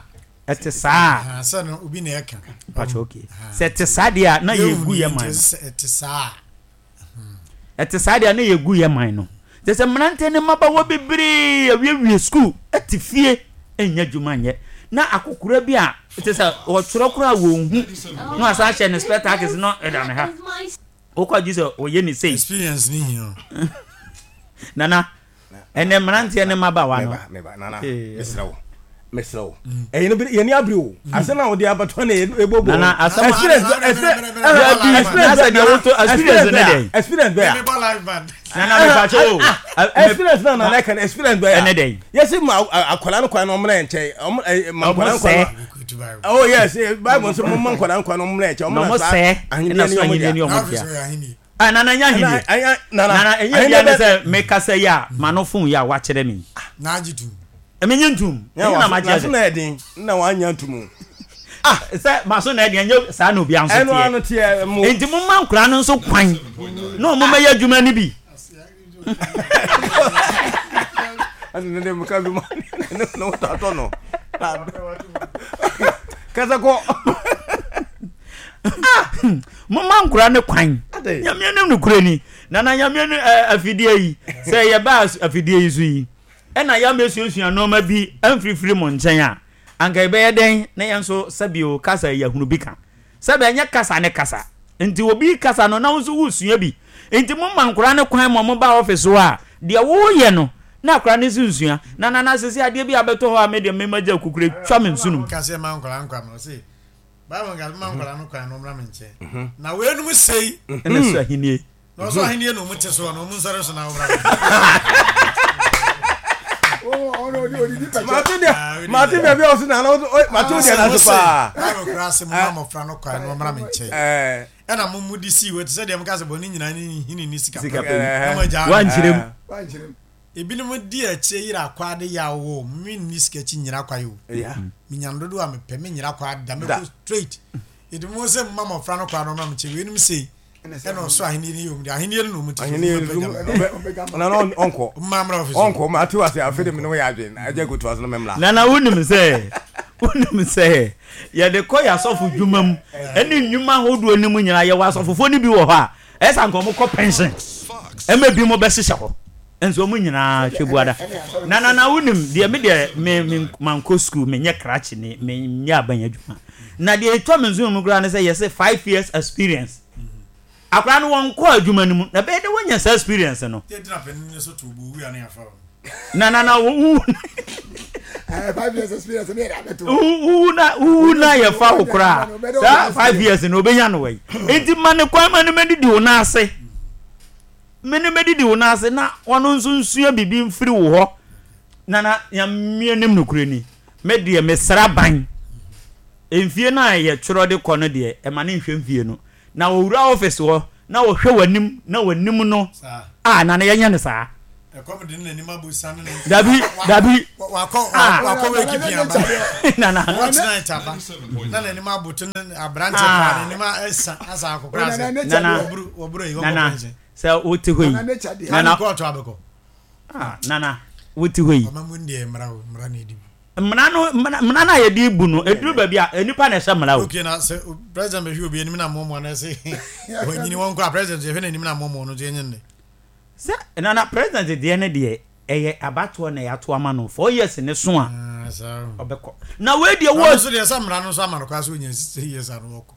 Ɛte saa. Sɛ no obi na ɛka. Mpakyɛ okay. Sɛ ɛte saa deɛ a na yɛgu yɛ man no. Ɛte saa. Ɛte saa deɛ a na yɛgu yɛ man no. Kyerɛ sɛ mmeranteɛ ne mmabaawa bebree awiewie sukuu ɛte fie ɛnyɛ adwuma nyɛ. Na akokora bi a kyerɛ sɛ ɔtwerɛ koraa wɔn hu na wasan ahyɛ ne spectacles na ɛda ne ha. Wokɔ agye sɛ ɔyɛ ne sei. Experience ni hia o. Nana ɛnɛ mmeranteɛ ne mmabaawa no. Meba meba nana mesrɛ wo mesrɛ wo ɛyɛ no yɛni abiri o asɛm a wɔde abatɔ na ɛbɔ bɔ. Nana asɛm experience experience experience ne dɛn. Experience bɛɛ a. Nana mepakyɛ o. Experience na nana ɛka no experience bɛɛ a. Ɛne dɛn. Yɛsi ma akwadaa no kwan na ɔmuna yɛn nkyɛn ɔmo ma nkwadaa no kwan. Oh yes, Bible nso mo ma nkwadaa no kwan na ɔmuna yɛn nkyɛn ɔmo na sɛ ahenni ne ɔmo dea. Ah, nana nya ahenni. Nana ɛnyɛ bia ne sɛ mekasa yi a ma no fon yi a wakyerɛ me. Na agye tum. Menye ntum. Ɛnyɛ na magye ase. Na ɛden na wanya ntum. Ah, sɛ maso na ɛdeɛ ɛnyɛ saa na obiara nso teɛ. Ɛno ano teɛ mo. Enti mo ma nkwadaa no nso kwan na ɔmo mɛyɛ adwuma no bi. Ɛna ne de mo ka bi ma ne ne wotɔ atɔ no. Kasa kɔ. Mo ma nkwadaa no kwan. Nyame anim nokorɛ ni. Nana nyame no afidie yi sɛ yɛba afidie yi so yi ɛna yɛamɛsuasua nneɛma bi amfirifiri mo nkyɛn a anka yɛbɛyɛ dɛn na yɛn nso sɛbio kasa yɛhunu bi ka sɛbɛ ɛnyɛ kasa ne kasa nti obi kasa no na wo nso wosua bi nti mo ma nkwadaa no kwan ma mo ba ɔfis hɔ a deɛ woyɛ no na akwadaa no nso nsua na nana sisi adeɛ bi abɛtɔ hɔ a me deɛ mema gya kukure twa me nsunum. Kase ma nkwadaa nkwa no ɔse Bible nka ma nkwadaa no kwan na ɔmmra me nkyɛn na weinom sei ɛna so ahennie na ɔso ahennie na ɔmu te soɔ na ɔmu nsɔre so na ɔmmra mate deɛ mate baabi a ɔso na mate deɛ na so paa Bible koraa se mo ma mmɔfra no kwan na ɔmmra me nkyɛn ɛna mo mu de sii hɔ te sɛ deɛ moka sɛ bɔne nyinaa ne hini ne sika pɛ na mo agya wankyerɛ mu ebinom di akyire yera akwa de yɛ awo menni sika akyi nyera kwa yi o menya no dodoɔ a mepɛ menyera kwa da mɛkɔ straight ɛdi mo sɛ mma mmɔfra no kwa no ɔmmra me nkyɛn weinom sei ɛna ɔsoro ahenni no yɛ ɔmu de ahenni no na ɔmu te so nana ɔnkɔ mmamra ɔfisi ɔnkɔ ma ate wase afe de me ne wo yɛ adwene agya koto ase no memmra nana wonim sɛ wonim sɛ yɛde kɔ yɛ asɔfo dwuma mu ɛne nnwuma ahodoɔ no mu nyinaa yɛwɔ asɔfofoɔ no bi wɔ hɔ a ɛsɛ anka ɔmo kɔ pension ɛma bi mo bɛhyehyɛ hɔ nso ɔmo nyinaa hwɛ buada na na na wonim deɛ me deɛ me me mankɔ school menyɛ krakye ne menyɛ aban adwuma na deɛ ɛtwa me nso mu koraa ne sɛ yɛsɛ five years experience akwadaa no wɔn kɔ adwuma no mu na bɛyɛ de wɔnya saa experience no na na na wo Eh, five years experience ne yɛde abɛto. Wuwu na wuwu na yɛfa wo koraa saa five years na obenya no wɔ yi. Nti ma ne kwan ma ne mɛdidi wo nan ase. Me ne mɛdidi wo nan ase na ɔno nso nsua biribi mfiri wo hɔ. Nana Nyame anim nokorɛ ni, me deɛ mesra ban. Mfie no a yɛtwerɛ de kɔ no deɛ, ɛma no nhwɛ mfie no. Na ɔwura office hɔ na ɔhwɛ w'anim na w'anim no a, Nana yɛnyɛ no saa. Ɛkɔm de ne n'anim abu sa ne ne. Dabi, dabi. Wakɔ Ah. wakɔ wake pia aba. Nana. Watch night aba. Na n'anim aboto ne aberante paa n'anim asa asa akokora ase. Nana. Wɔburu wɔburu yi wɔkɔ Nana, pension. sɛ wote hɔ yi. Nana kɔɔto abɛkɔ. Ah, Nana, wote hɔ yi. Ɔma mu deɛ mmara o, mmara na ɛdi mu. Mmara no, mmara mmara no a yɛde bu no, ɛduru baabi a, nnipa na ɛhyɛ mmara o. Okay, na sɛ president bɛhwɛ obi anim na mmoamoa no sɛ wanyini wɔn kɔ a president yɛhwɛ n'anim na mmoamoa no nso yɛnyɛ nnɛ. Sɛ Nana, president deɛ ne deɛ, ɛyɛ abatoɔ na yɛato ama no, four years ne so a, ɔbɛkɔ. Na wei deɛ wɔ. Nso deɛ sɛ mmara no nso ama no kwan sɛ ɔnya six years ano wɔkɔ.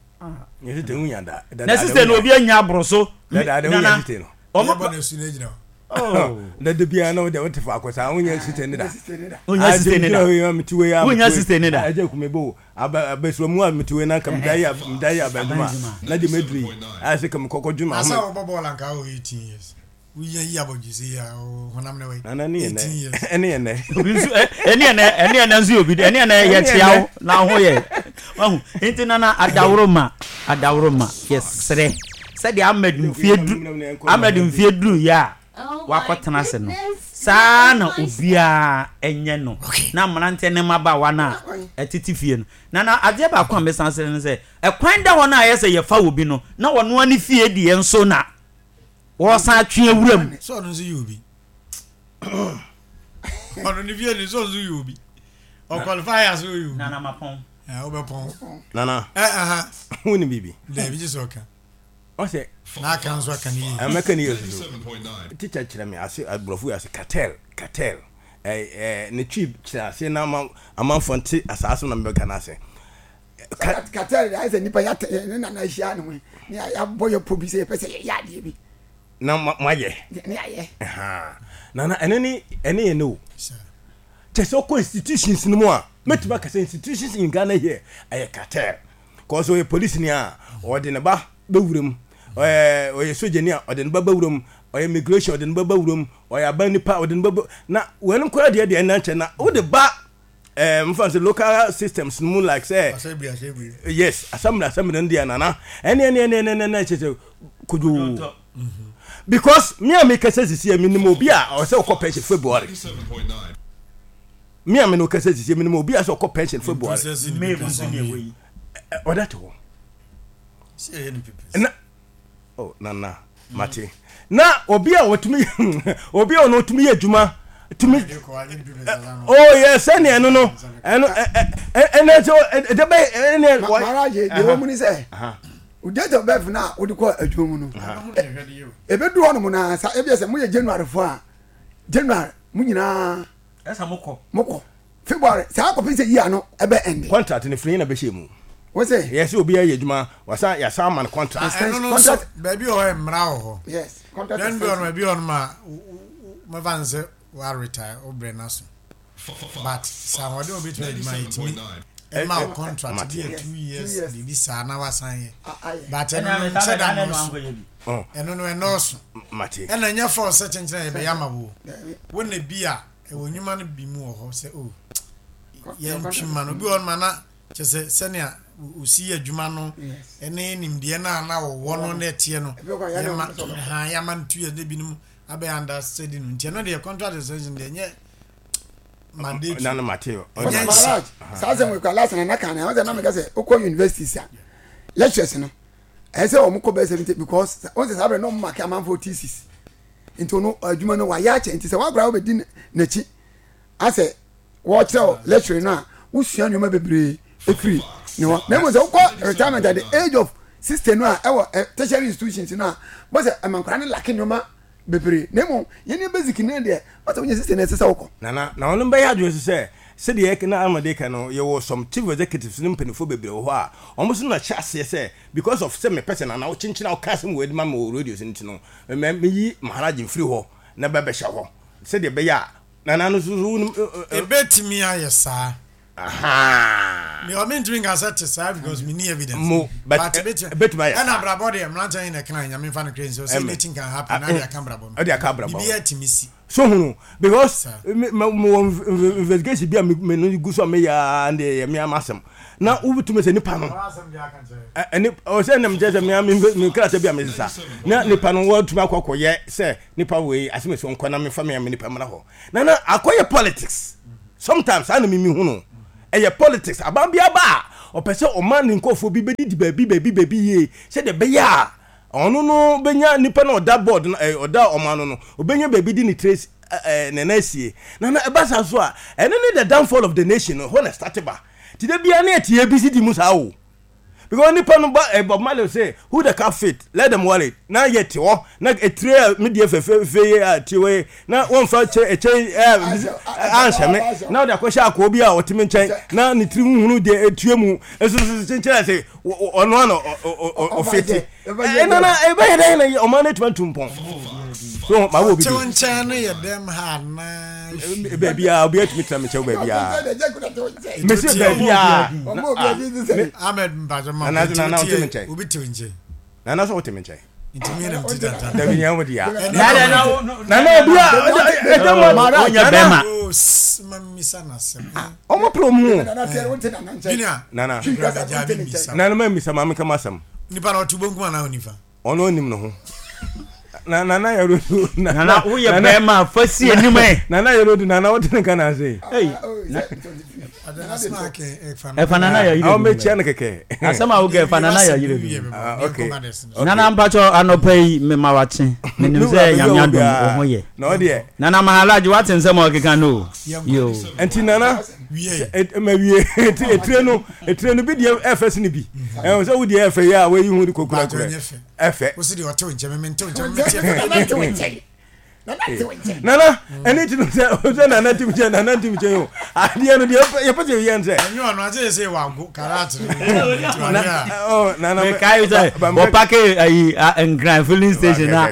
Na sisi no obi anya aboro so. Nana, ɔmo bɔ na su na gyina hɔ. Na de bia na wode wote faako saa wonya sisi ne da. Wonya sisi ne da. Wonya sisi ne da. Agye kume bo aba abesua mu a mete wei na nka meda yi meda yi abɛdwuma na de meduri ayɛ sɛ kam kɔkɔ dwuma ho. Asa wɔbɔ bɔɔl anka wɔ eighteen years. Woyɛ yi abɔdwese yi a honam ne wei. Nana ne yɛ nɛ. Ɛne yɛ nɛ. Obi nso ɛne yɛ nɛ ɛne yɛ nɛ nso yɛ obi ɛne yɛ nɛ yɛ tia wo na ho yɛ. Wahu nti nana adaworo ma adaworo ma yɛsrɛ sɛdeɛ Ahmed mfie du Ahmed mfie duru yɛ a wakɔtena ase no saa na obiara nyɛ no na mmeranteɛ ne mmabaawa no a ɛtete fie no nana adeɛ baako a mesan srɛ no sɛ ɛkwan da hɔ no a ɛyɛ sɛ yɛfa obi no na ɔno ara ne fie deɛ nso na wɔsan atwe awura mu. Sɛ ɔno nso yɛ obi ɔno ne fie ne sɛ ɔno nso yɛ obi ɔqualify as ɔyɛ obi. Nana mapɔn. Wobɛpɔn. Nana. Ɛ aha. Wo ni biribi. Daabi gye sɛ ɔka. Ɔsɛ. N'aka nso aka ne yie. Mɛka ne yie soso. Teacher kyerɛ me ase aborɔfo yi ase cartel cartel ɛɛ ɛɛ ne twi kyerɛ ase na ama amanfoɔ nte asaase na mebɛka no ase. Cartel de ayɛ sɛ nipa yɛatɛ ne nana ahyia ne ho ne yɛabɔ yɛ po bi sɛ yɛpɛ sɛ yɛyɛ adeɛ bi. Na moayɛ. Ne yɛayɛ. Nana ɛno ne ɛne yɛ ne o. Kyɛ sɛ ɔkɔ institutions no mu a mɛtumi aka sɛ institutions in Ghana here ɛyɛ cartel. Kɔɔ sɛ ɔyɛ polisi ni a ɔde ne ba bɛwura mu, ɔyɛ ɔyɛ sogyani a ɔde ne ba bɛwura mu, ɔyɛ immigration ɔde ne ba bɛwura mu, ɔyɛ aban nipa ɔde ne ba bɛ na wɔn nkora deɛ deɛ ɛna nkyɛn na wode ba ɛɛ nfa sɛ local systems no mu like sɛ assembly assembly yes assembly assembly no deɛ nana ɛne ɛne ɛne ɛne ɛne kyɛ sɛ kodwo because me a mekasa sisi a menim obi a ɔsɛ ɔkɔ pension February me a me no kasa sisi menim obi a sɛ ɔkɔ pension February ɔda te hɔ na oh nana mate na obi a ɔtumi obi a ɔno ɔtumi yɛ adwuma tumi oh yɛ sɛnea ɛno no ɛno ɛnɛ sɛ ɛdɛ bɛ ɛnɛ. Maraje deɛ wɔn mu ni sɛ o date of birth na o de kɔ adwuma mu no ebedu hɔ nom na sa ebi sɛ mo yɛ January fo a January mo nyinaa. Ɛsɛ mo kɔ. Mo kɔ. February saa kɔpem sɛ year no ɛbɛ ɛnde. Contract no firi na bɛhyɛ mu. Wo se. Yɛ sɛ obi ayɛ adwuma wasan yɛasan ama no contract. Ɛno no nso baabi wɔ hɔ mmara wɔ hɔ. Yes contract. Then bi wɔ no baabi wɔ no ma mɛfa no sɛ wa retire wo brɛ no aso but sɛ ahoɔden wɔ bɛtumi adwuma yɛtumi ɛma wo contract bi yɛ two years biribi saa na wasan yɛ but ɛno no nkyɛ da nɔɔso ɛno no ɛnɔɔso ɛna ɛnyɛ force sɛ kyenkyena yɛbɛyɛ ama wo wo na bi a Ɛwɔ nnwuma no bi mu wɔ hɔ sɛ oh yɛntwe ma no obi wɔ hɔ ma na kyɛ sɛ sɛnea osi yɛ adwuma no ɛne nimdeɛ no a na wɔwɔ no na ɛteɛ no yɛma ha yɛama no two years na ebinom abɛyɛ understudy no nti ɛno deɛ contract extension deɛ ɛnyɛ mandatory. Nana Mateo. Ɛnyɛ nhyɛ. Saa asɛm wɔ ekura last na naka na ɔsɛ na meka sɛ okɔ universities a lectures no ɛsɛ wɔn kɔ bɛyɛ seventy because wɔn sɛ saa abirɛ na wɔn maki amanfo thesis. Nti ɔno adwuma no wayɛ akyɛ nti sɛ wakora wobɛdi n'akyi asɛ wɔkyerɛ lecture no a wosua nneɛma bebree ɛfiri ne hɔ na mmom sɛ wokɔ retirement at the age of sixty no a ɛwɔ eh, tertiary institutions no a bɔ sɛ ɛma nkora no lake nneɛma bebree na mmom yɛne basic no deɛ bɔ sɛ wonya sixty no ɛsɛ sɛ wokɔ. Nana na ɔno bɛyɛ adwene so sɛ sɛdeɛ na Amade ka no yɛwɔ some chief executives ne mpanimfoɔ bebree wɔ hɔ a wɔn nso na hyɛ aseɛ sɛ because of sɛ mepɛ sɛ Nana wokyenkyen a woka asɛm wɔ adi ma me wɔ radio so nti no mɛ meyi Maharaj mfiri hɔ na bɛbɛhyɛ hɔ sɛdeɛ ɛbɛyɛ a Nana no so so. Ebetumi ayɛ saa. Me ɔme ntumi nka sɛ te saa because me ni evidence. Mo but ebetumi ayɛ saa. Ɛna abrabɔ deɛ mmeranteɛ yi na ɛka nyame nfa no kure nso sɛ anything can happen na de aka abrabɔ no. Ɛde aka abrabɔ. Bibi atumi si. So hunu because me me wɔ investigation bi a me me no gu so a me yɛ a de yɛ me ama asɛm na wobɛtumi sɛ nipa no ɛne ɔsɛ nam kyerɛ sɛ me me me krataa bi a mesesa na nipa no wɔatumi akɔ akɔyɛ sɛ nipa wei asɛm esi nkɔ na mefa me me nipa mmra hɔ na na akɔyɛ politics sometimes saa na mimi hu no ɛyɛ politics aban bi aba a ɔpɛ sɛ ɔma ne nkurɔfoɔ bi bɛdidi baabi baabi baabi yie sɛdeɛ ɛbɛyɛ a ɔno no bɛnya nipa na ɔda board no ɛɛ ɔda ɔman no no ɔbɛnya baabi di ne trace ɛɛ ne nan asie na na ɛba saa so a ɛno ne the downfall of the nation no hɔ na start ba ti de bia ne ɛte A B C D mu saa o, because nipa no ba ɛ Bob Marley say, "Who the cap fit, let them wear it." Na yɛ te hɔ na etire a mi deɛ fɛfɛɛfɛ yi a ti hɔ yi na wɔnfa kyɛ ɛkyɛ ɛ anhyɛ me na ɔde akɔhyɛ akɔɔ bi a ɔte me nkyɛn na ne tiri huhunu deɛ etue mu esoso kyenkyɛn sɛ ɔno ano ɔfiti ɛna na ɛbɛyɛ dɛ na ɔman no etuma ntu mpɔn so ma wo obi bi. Ɔte nkyɛn no yɛ dɛm ha anaa? Baabi a obi atumi tena me nkyɛn baabi a mesi baabi a. Ahmed mpatsɔ ma. Nana nana ɔte me nkyɛn. Obi te nkyɛn. Nana sɛ ɔte me nkyɛn. Ntumi yɛn ti tata. Dabi nyɛ wo dia. Nana obi a ɛdɛ mu ɔnyɛ bɛrima. Ma misa na sɛm. Ɔmo pere ɔmo ho. Junior. Nana nana ma misa maame kama asɛm. Nipa na ɔte bonkum anaa onifa? Ɔno onim ne ho. Na nana yɛ rodu. Nana woyɛ bɛrima fa si anim ɛ. Nana yɛ rodu, nana wote ne nka na ase. Ɛfa nana yɛ yire. Awo mekyia no kɛkɛ. Asɛm a wokɛ ɛfa nana yɛ yire bi. Okay. Nana mpatsɔ anɔpa yi mema wakye menim sɛ Nyame adom wo ho yɛ. Na ɔdeɛ. Nana Mahalaji wate nsɛm a ɔkeka no o. Yo. Nti nana ma wie nti etire no etire no bi deɛ ɛfɛ sini bi ɛwɔ sɛ wo deɛ ɛfɛ yɛ a wɔyi ho de kokura kura ɛfɛ. Wosi deɛ ɔte wo nkyɛn mɛ nte wo nkyɛn mɛ te wo nkyɛn. Nana ɛne ti no sɛ sɛ nana ti mi kyɛn nana ti mi kyɛn o adeɛ no deɛ yɛpɛ sɛ yɛn sɛ. Ɛnyɛ ɔno ase yɛ sɛ wago karate. Nana mekae sɛ wɔpake ayi Nkran filling station na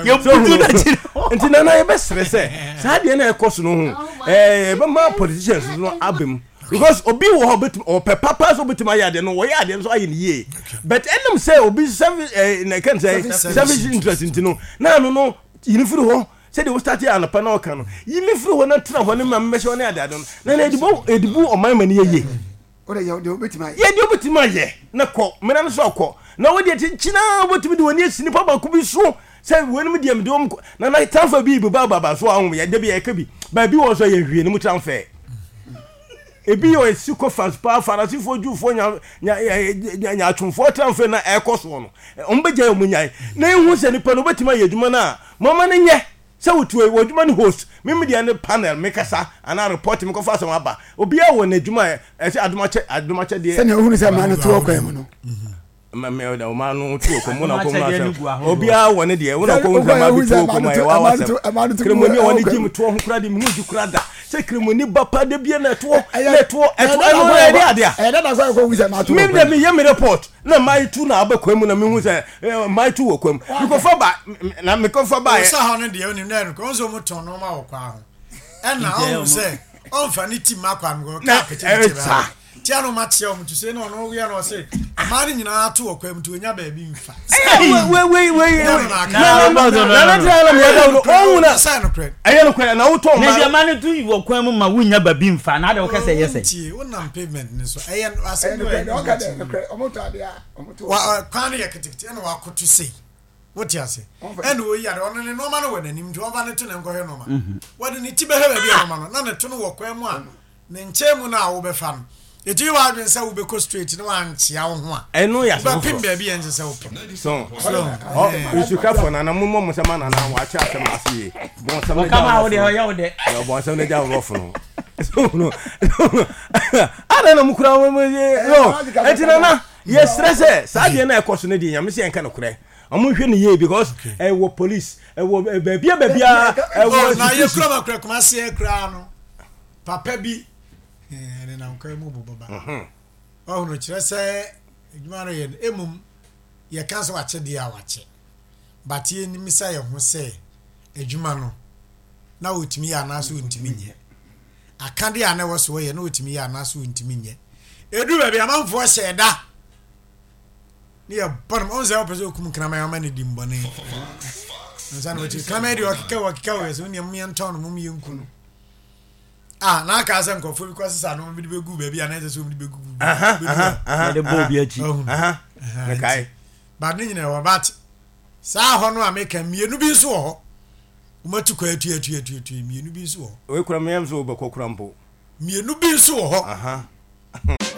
yɛbutu n'akyi. Nti nana yɛbɛsrɛ sɛ saa deɛ na ɛkɔ so no ho ɛɛ yɛbɛma politicians no aba mu because obi wɔ hɔ obetumi ɔpɛ papa sɛ obetumi ayɛ adeɛ no, wɔyɛ adeɛ no so ayɛ no yie, but ɛnam sɛ obi service ɛɛ na ɛka sɛ service interest nti no na ano no yini firi hɔ sɛdeɛ wo start yɛ anɔpa na ɔka no yi mi firi hɔ na tena hɔ ne ma mmɛhyɛ hɔ ne ade ade no na na edibu edibu ɔman ma ne yɛ yie. Yɛ deɛ wobɛtumi ayɛ na kɔ mmena no so akɔ na wodeɛ kyenkyena wobɛtumi de w'ani asi nipa baako bi so sɛ weinom deɛ mede wɔm na na transfer bi beba baba so ahom yɛ da bi yɛka bi baabi wɔ so yɛ hwie no mu transfer ebi yɛ ɔsi kɔ fans paa Farasifoɔ, Jewfoɔ, nya nya nya nyaatwomfoɔ transfer na ɛkɔ soɔ no wɔn bɛgya yɛ wɔn nyae na ehu sɛ nipa no wobɛtumi ayɛ adwuma no a mɔma no nyɛ sɛ wotu wɔ adwuma no host mímu deɛ ne panel mekasa anaa report mekɔfa asɛm aba obiara wɔ n'adwuma ɛsɛ adomakyɛ adomakyɛ deɛ. Sɛnea ohunu sɛ mmaa no to wɔ kwan mu no. Ɔmaa no to wɔ kwan mu na kɔn mu asɛm obiara wɔ ne deɛ wɔn na kɔn mu sɛ maa bi to wɔ kwan mu a yɛ wa wasɛm kremoni a wɔne gye mu toɔ ho kura de mu gye kura da sɛ kremoni ba pa de bie na ɛtoɔ na ɛtoɔ ɛtoɔ ɛno na ɛde adeɛ a mi de mi yɛ mi report na maa yi tu na abɛ kwan mu na mi hu sɛ maa yi tu wɔ kwan mu mikɔfa ba na mikɔfa ba yɛ. Ɔsa hɔ no deɛ onim dɛ no kɔn nso mo tɔn nneɛma wɔ kwan ho ɛna ɔhu sɛ ɔnfa ne ti ma kwan mu kaa pete ne ti ba tia no ma kyerɛ ɔmo to se na ɔno yɛ no ɔse mmaa no nyinaa to wɔ kwan mu nti onya baabi nfa. Wei wei wei nana tena na meyɛ dɛ ɔhu na ɛyɛ nokorɛ na wotɔ mmaa na mmaa no to wɔ kwan mu ma wonya baabi nfa na ade wɔkɛ sɛ ɛyɛ sɛ tie wonam pavement ne so ɛyɛ asɛm bi wɔ ɛyɛ kwan no yɛ ketekete ɛna wakoto sei wote ase ɛna oyi ade ɔno ne nneɛma no wɔ n'anim nti ɔmfa ne to ne nkɔhwɛ nneɛma wɔde ne ti bɛhwɛ baabi a nneɛma no na ne to no wɔ kwan mu a ne nkyɛn mu no a wobɛfa no ɛtumi wɔ adwene sɛ wobɛkɔ straight na wankyea wo ho a ɛno yɛ asɛm wobɛpem baabi a ɛnsɛ sɛ wopem. So nsukafo nana mo mmɔ mo nsɛm nana wakyɛ asɛm ase yie bɔnsɛm no gya wo bɔnsɛm no gya wo rɔfo no so no ada na mo kura mo mo yɛ no ɛti nana yɛsrɛ sɛ saa deɛ na ɛkɔ so no deɛ Nyame sɛ yɛnka nokorɛ ɔmo nhwɛ no yie because ɛwɔ police ɛwɔ baabia baabia ɛwɔ. Na yɛ kura ma kura Kumasi kura no papa bi ɛne nam kwan mu bobɔ ba ɔhunu kyerɛ sɛ adwuma no yɛ no emom yɛka sɛ wakyɛ deɛ a wakyɛ but yɛnim sɛ yɛn ho sɛ Adwuma no na ɔtumi yɛ anaasɛ ɔntumi nyɛ. Akadeɛ a na ɛwɔ so ɔyɛ na ɔtumi yɛ anaasɛ ɔntumi nyɛ. Ɛduru baabi amanfoɔ hyɛ da ne yɛ bɔ no ɔn sɛ ɔpɛ sɛ ɔkum kraman ama ne di mbɔne nsa na ɔkyi kraman deɛ ɔkeka ɔkeka wɔ sɛ woneɛ moyɛ ntɔn no mom yɛ nku no ah na aka sɛ nkurɔfoɔ bi kɔ sesa no bi de bɛgu baabi a na ɛsɛ sɛ wɔn de bɛgu gu yɛde bɔ obi akyi but ne nyina wɔ but saa hɔ no a meka mmienu bi nso wɔ hɔ wɔmatu kɔ atu atu atu atu mmienu bi nso wɔ hɔ wei kura meyam sɛ wobɛkɔ kura mpo mmienu bi nso wɔ hɔ.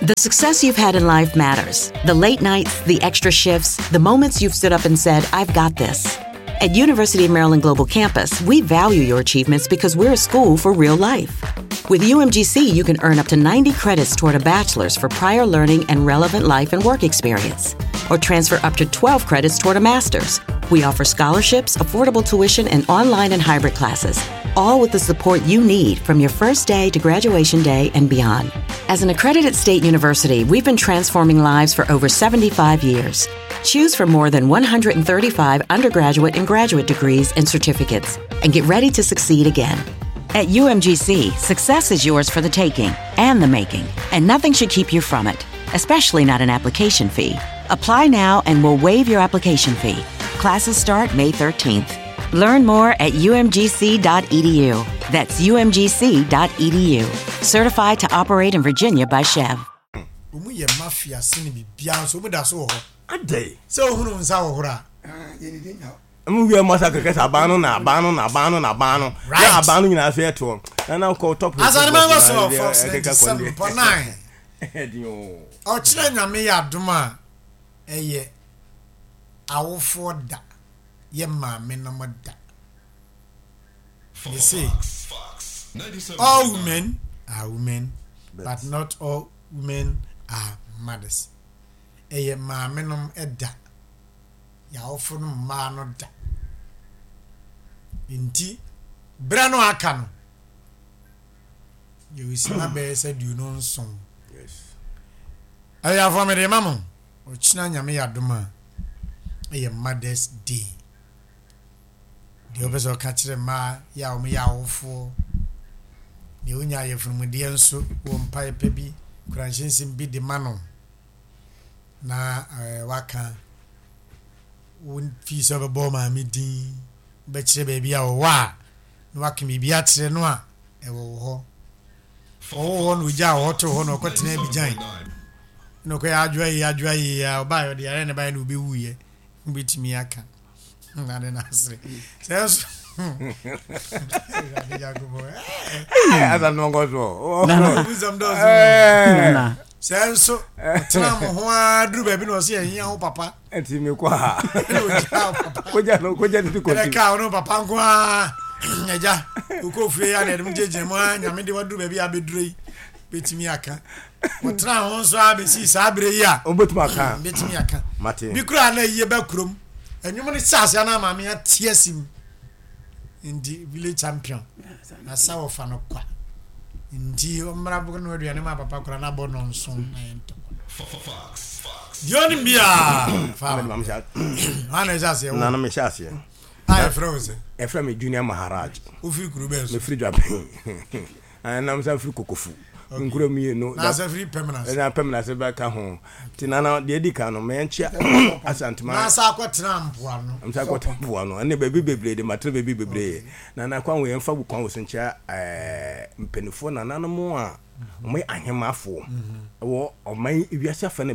The success you've had in life matters. The late nights, the extra shifts, the moments you've stood up and said, I've got this. At University of Maryland Global Campus, we value your achievements because we're a school for real life. With U M G C, you can earn up to ninety credits toward a bachelor's for prior learning and relevant life and work experience, or transfer up to twelve credits toward a master's. We offer scholarships, affordable tuition, and online and hybrid classes, all with the support you need from your first day to graduation day and beyond. As an accredited state university, we've been transforming lives for over seventy-five years. Choose from more than one hundred thirty-five undergraduate and graduate degrees and certificates, and get ready to succeed again. At U M G C, success is yours for the taking and the making, and nothing should keep you from it, especially not an application fee. Apply now and we'll waive your application fee. Classes start May thirteenth. Learn more at U M G C dot E D U. That's U M G C dot E D U. Certified to operate in Virginia by SCHEV. Ɔmu yɛ mafia sene biribiara nso ɔmu da so wɔ hɔ. Adɛn? Sɛ ohunu nsa wɔ horo a mu wia mu asa kɛkɛ sɛ aban no na aban no na aban no na aban no na aban no nyinaa so yɛ toɔ na na kɔ top. Asanteman kɔ so wɔ Fox ninety-seven point nine. Ɔkyerɛ Nyame yɛ adom a, ɛyɛ awofoɔ da, yɛ maame nom da. They say all women are women, but not all women are mothers. Ɛyɛ maame nom da, yɛawofo no mmaa no da. Nti berɛ no aka no, yɛwɔ bɛyɛ sɛ aduonu nson. Ɛyɛ afɔmede ma mo. Ɔkyena Nyame yɛ adom a, ɛyɛ Mothers' Day. Deɛ wopɛ sɛ ɔka kyerɛ mmaa yɛ a wɔyɛ awofoɔ, deɛ wonya ayɛfunumudeɛ nso wɔ mpaeɛ pɛ bi kuranhyɛnsɛm bi de ma no na ɛɛ waka wo fii sɛ wobɛbɔ maame din, wobɛkyerɛ baabi a ɔwɔ a na waka biribi akyerɛ no a ɛwɔ wɔ hɔ. Ɔwɔ hɔ na ogya a ɔhɔ to hɔ na ɔkɔtena Abidjan na ɔkɔyɛ adwoa yi adwoa yi a ɔbaayɛ, ɔde yare ne baayɛ na ɔbɛwuyɛ. Wobɛtumi aka na de n'asere sɛ nso Awurade Nyankopɔn, asa no nkɔ so. Nsɛm dɔɔso. Sɛ nso ɔtena mo ho ara duru baabi na ɔsɛ yɛhia ho papa. Ɛnti mekɔ a ɛna ogya wo papa. Kogya no, kogya no ti ɛna kɔsi. Kaa ɔno papa nko ara agya wokɔ fie ya na ɛde mo gyinagyina mu a Nyame de waduru baabi a abɛduru yi, bɛtumi aka wɔtena ho nso a bɛsii saa berɛ yi a wobɛtumi aka. Bɛtumi aka. Mate. Bi koraa na yie bɛ kurom ɛnwom no hyɛ aseɛ na maame ate asi mu. Nti village champion na sa wɔfa no kwa nti ɔmmra no aduane ma papa koraa na abɔ nɔnson na yɛ ntɔkwa deɛ ɔnim biaa fa ana ɛhyɛ aseɛ wo. Nana, mehyɛ aseɛ. A yɛfrɛ wo sɛ? Ɛfrɛ me Junior Maharaj. Wofiri kuro bɛɛ so? Mefiri Dwaben, nam sa firi Kokofu nkuro mmienu. Na sɛ firi Pɛmnas? Ɛna Pɛmnas bɛka ho. Nti nana, deɛ di kan no, mɛnkyia Asantema. Na sa akɔtena mpoano? Nsa akɔtena mpoano ɛne baabi bebree de matena baabi bebree. Nana, kwan wɔ yɛmfa kwan wɔ so nkyia ɛɛ mpanimfoɔ nananom a wɔyɛ ahemafoɔ ɛwɔ ɔman wiase afa no.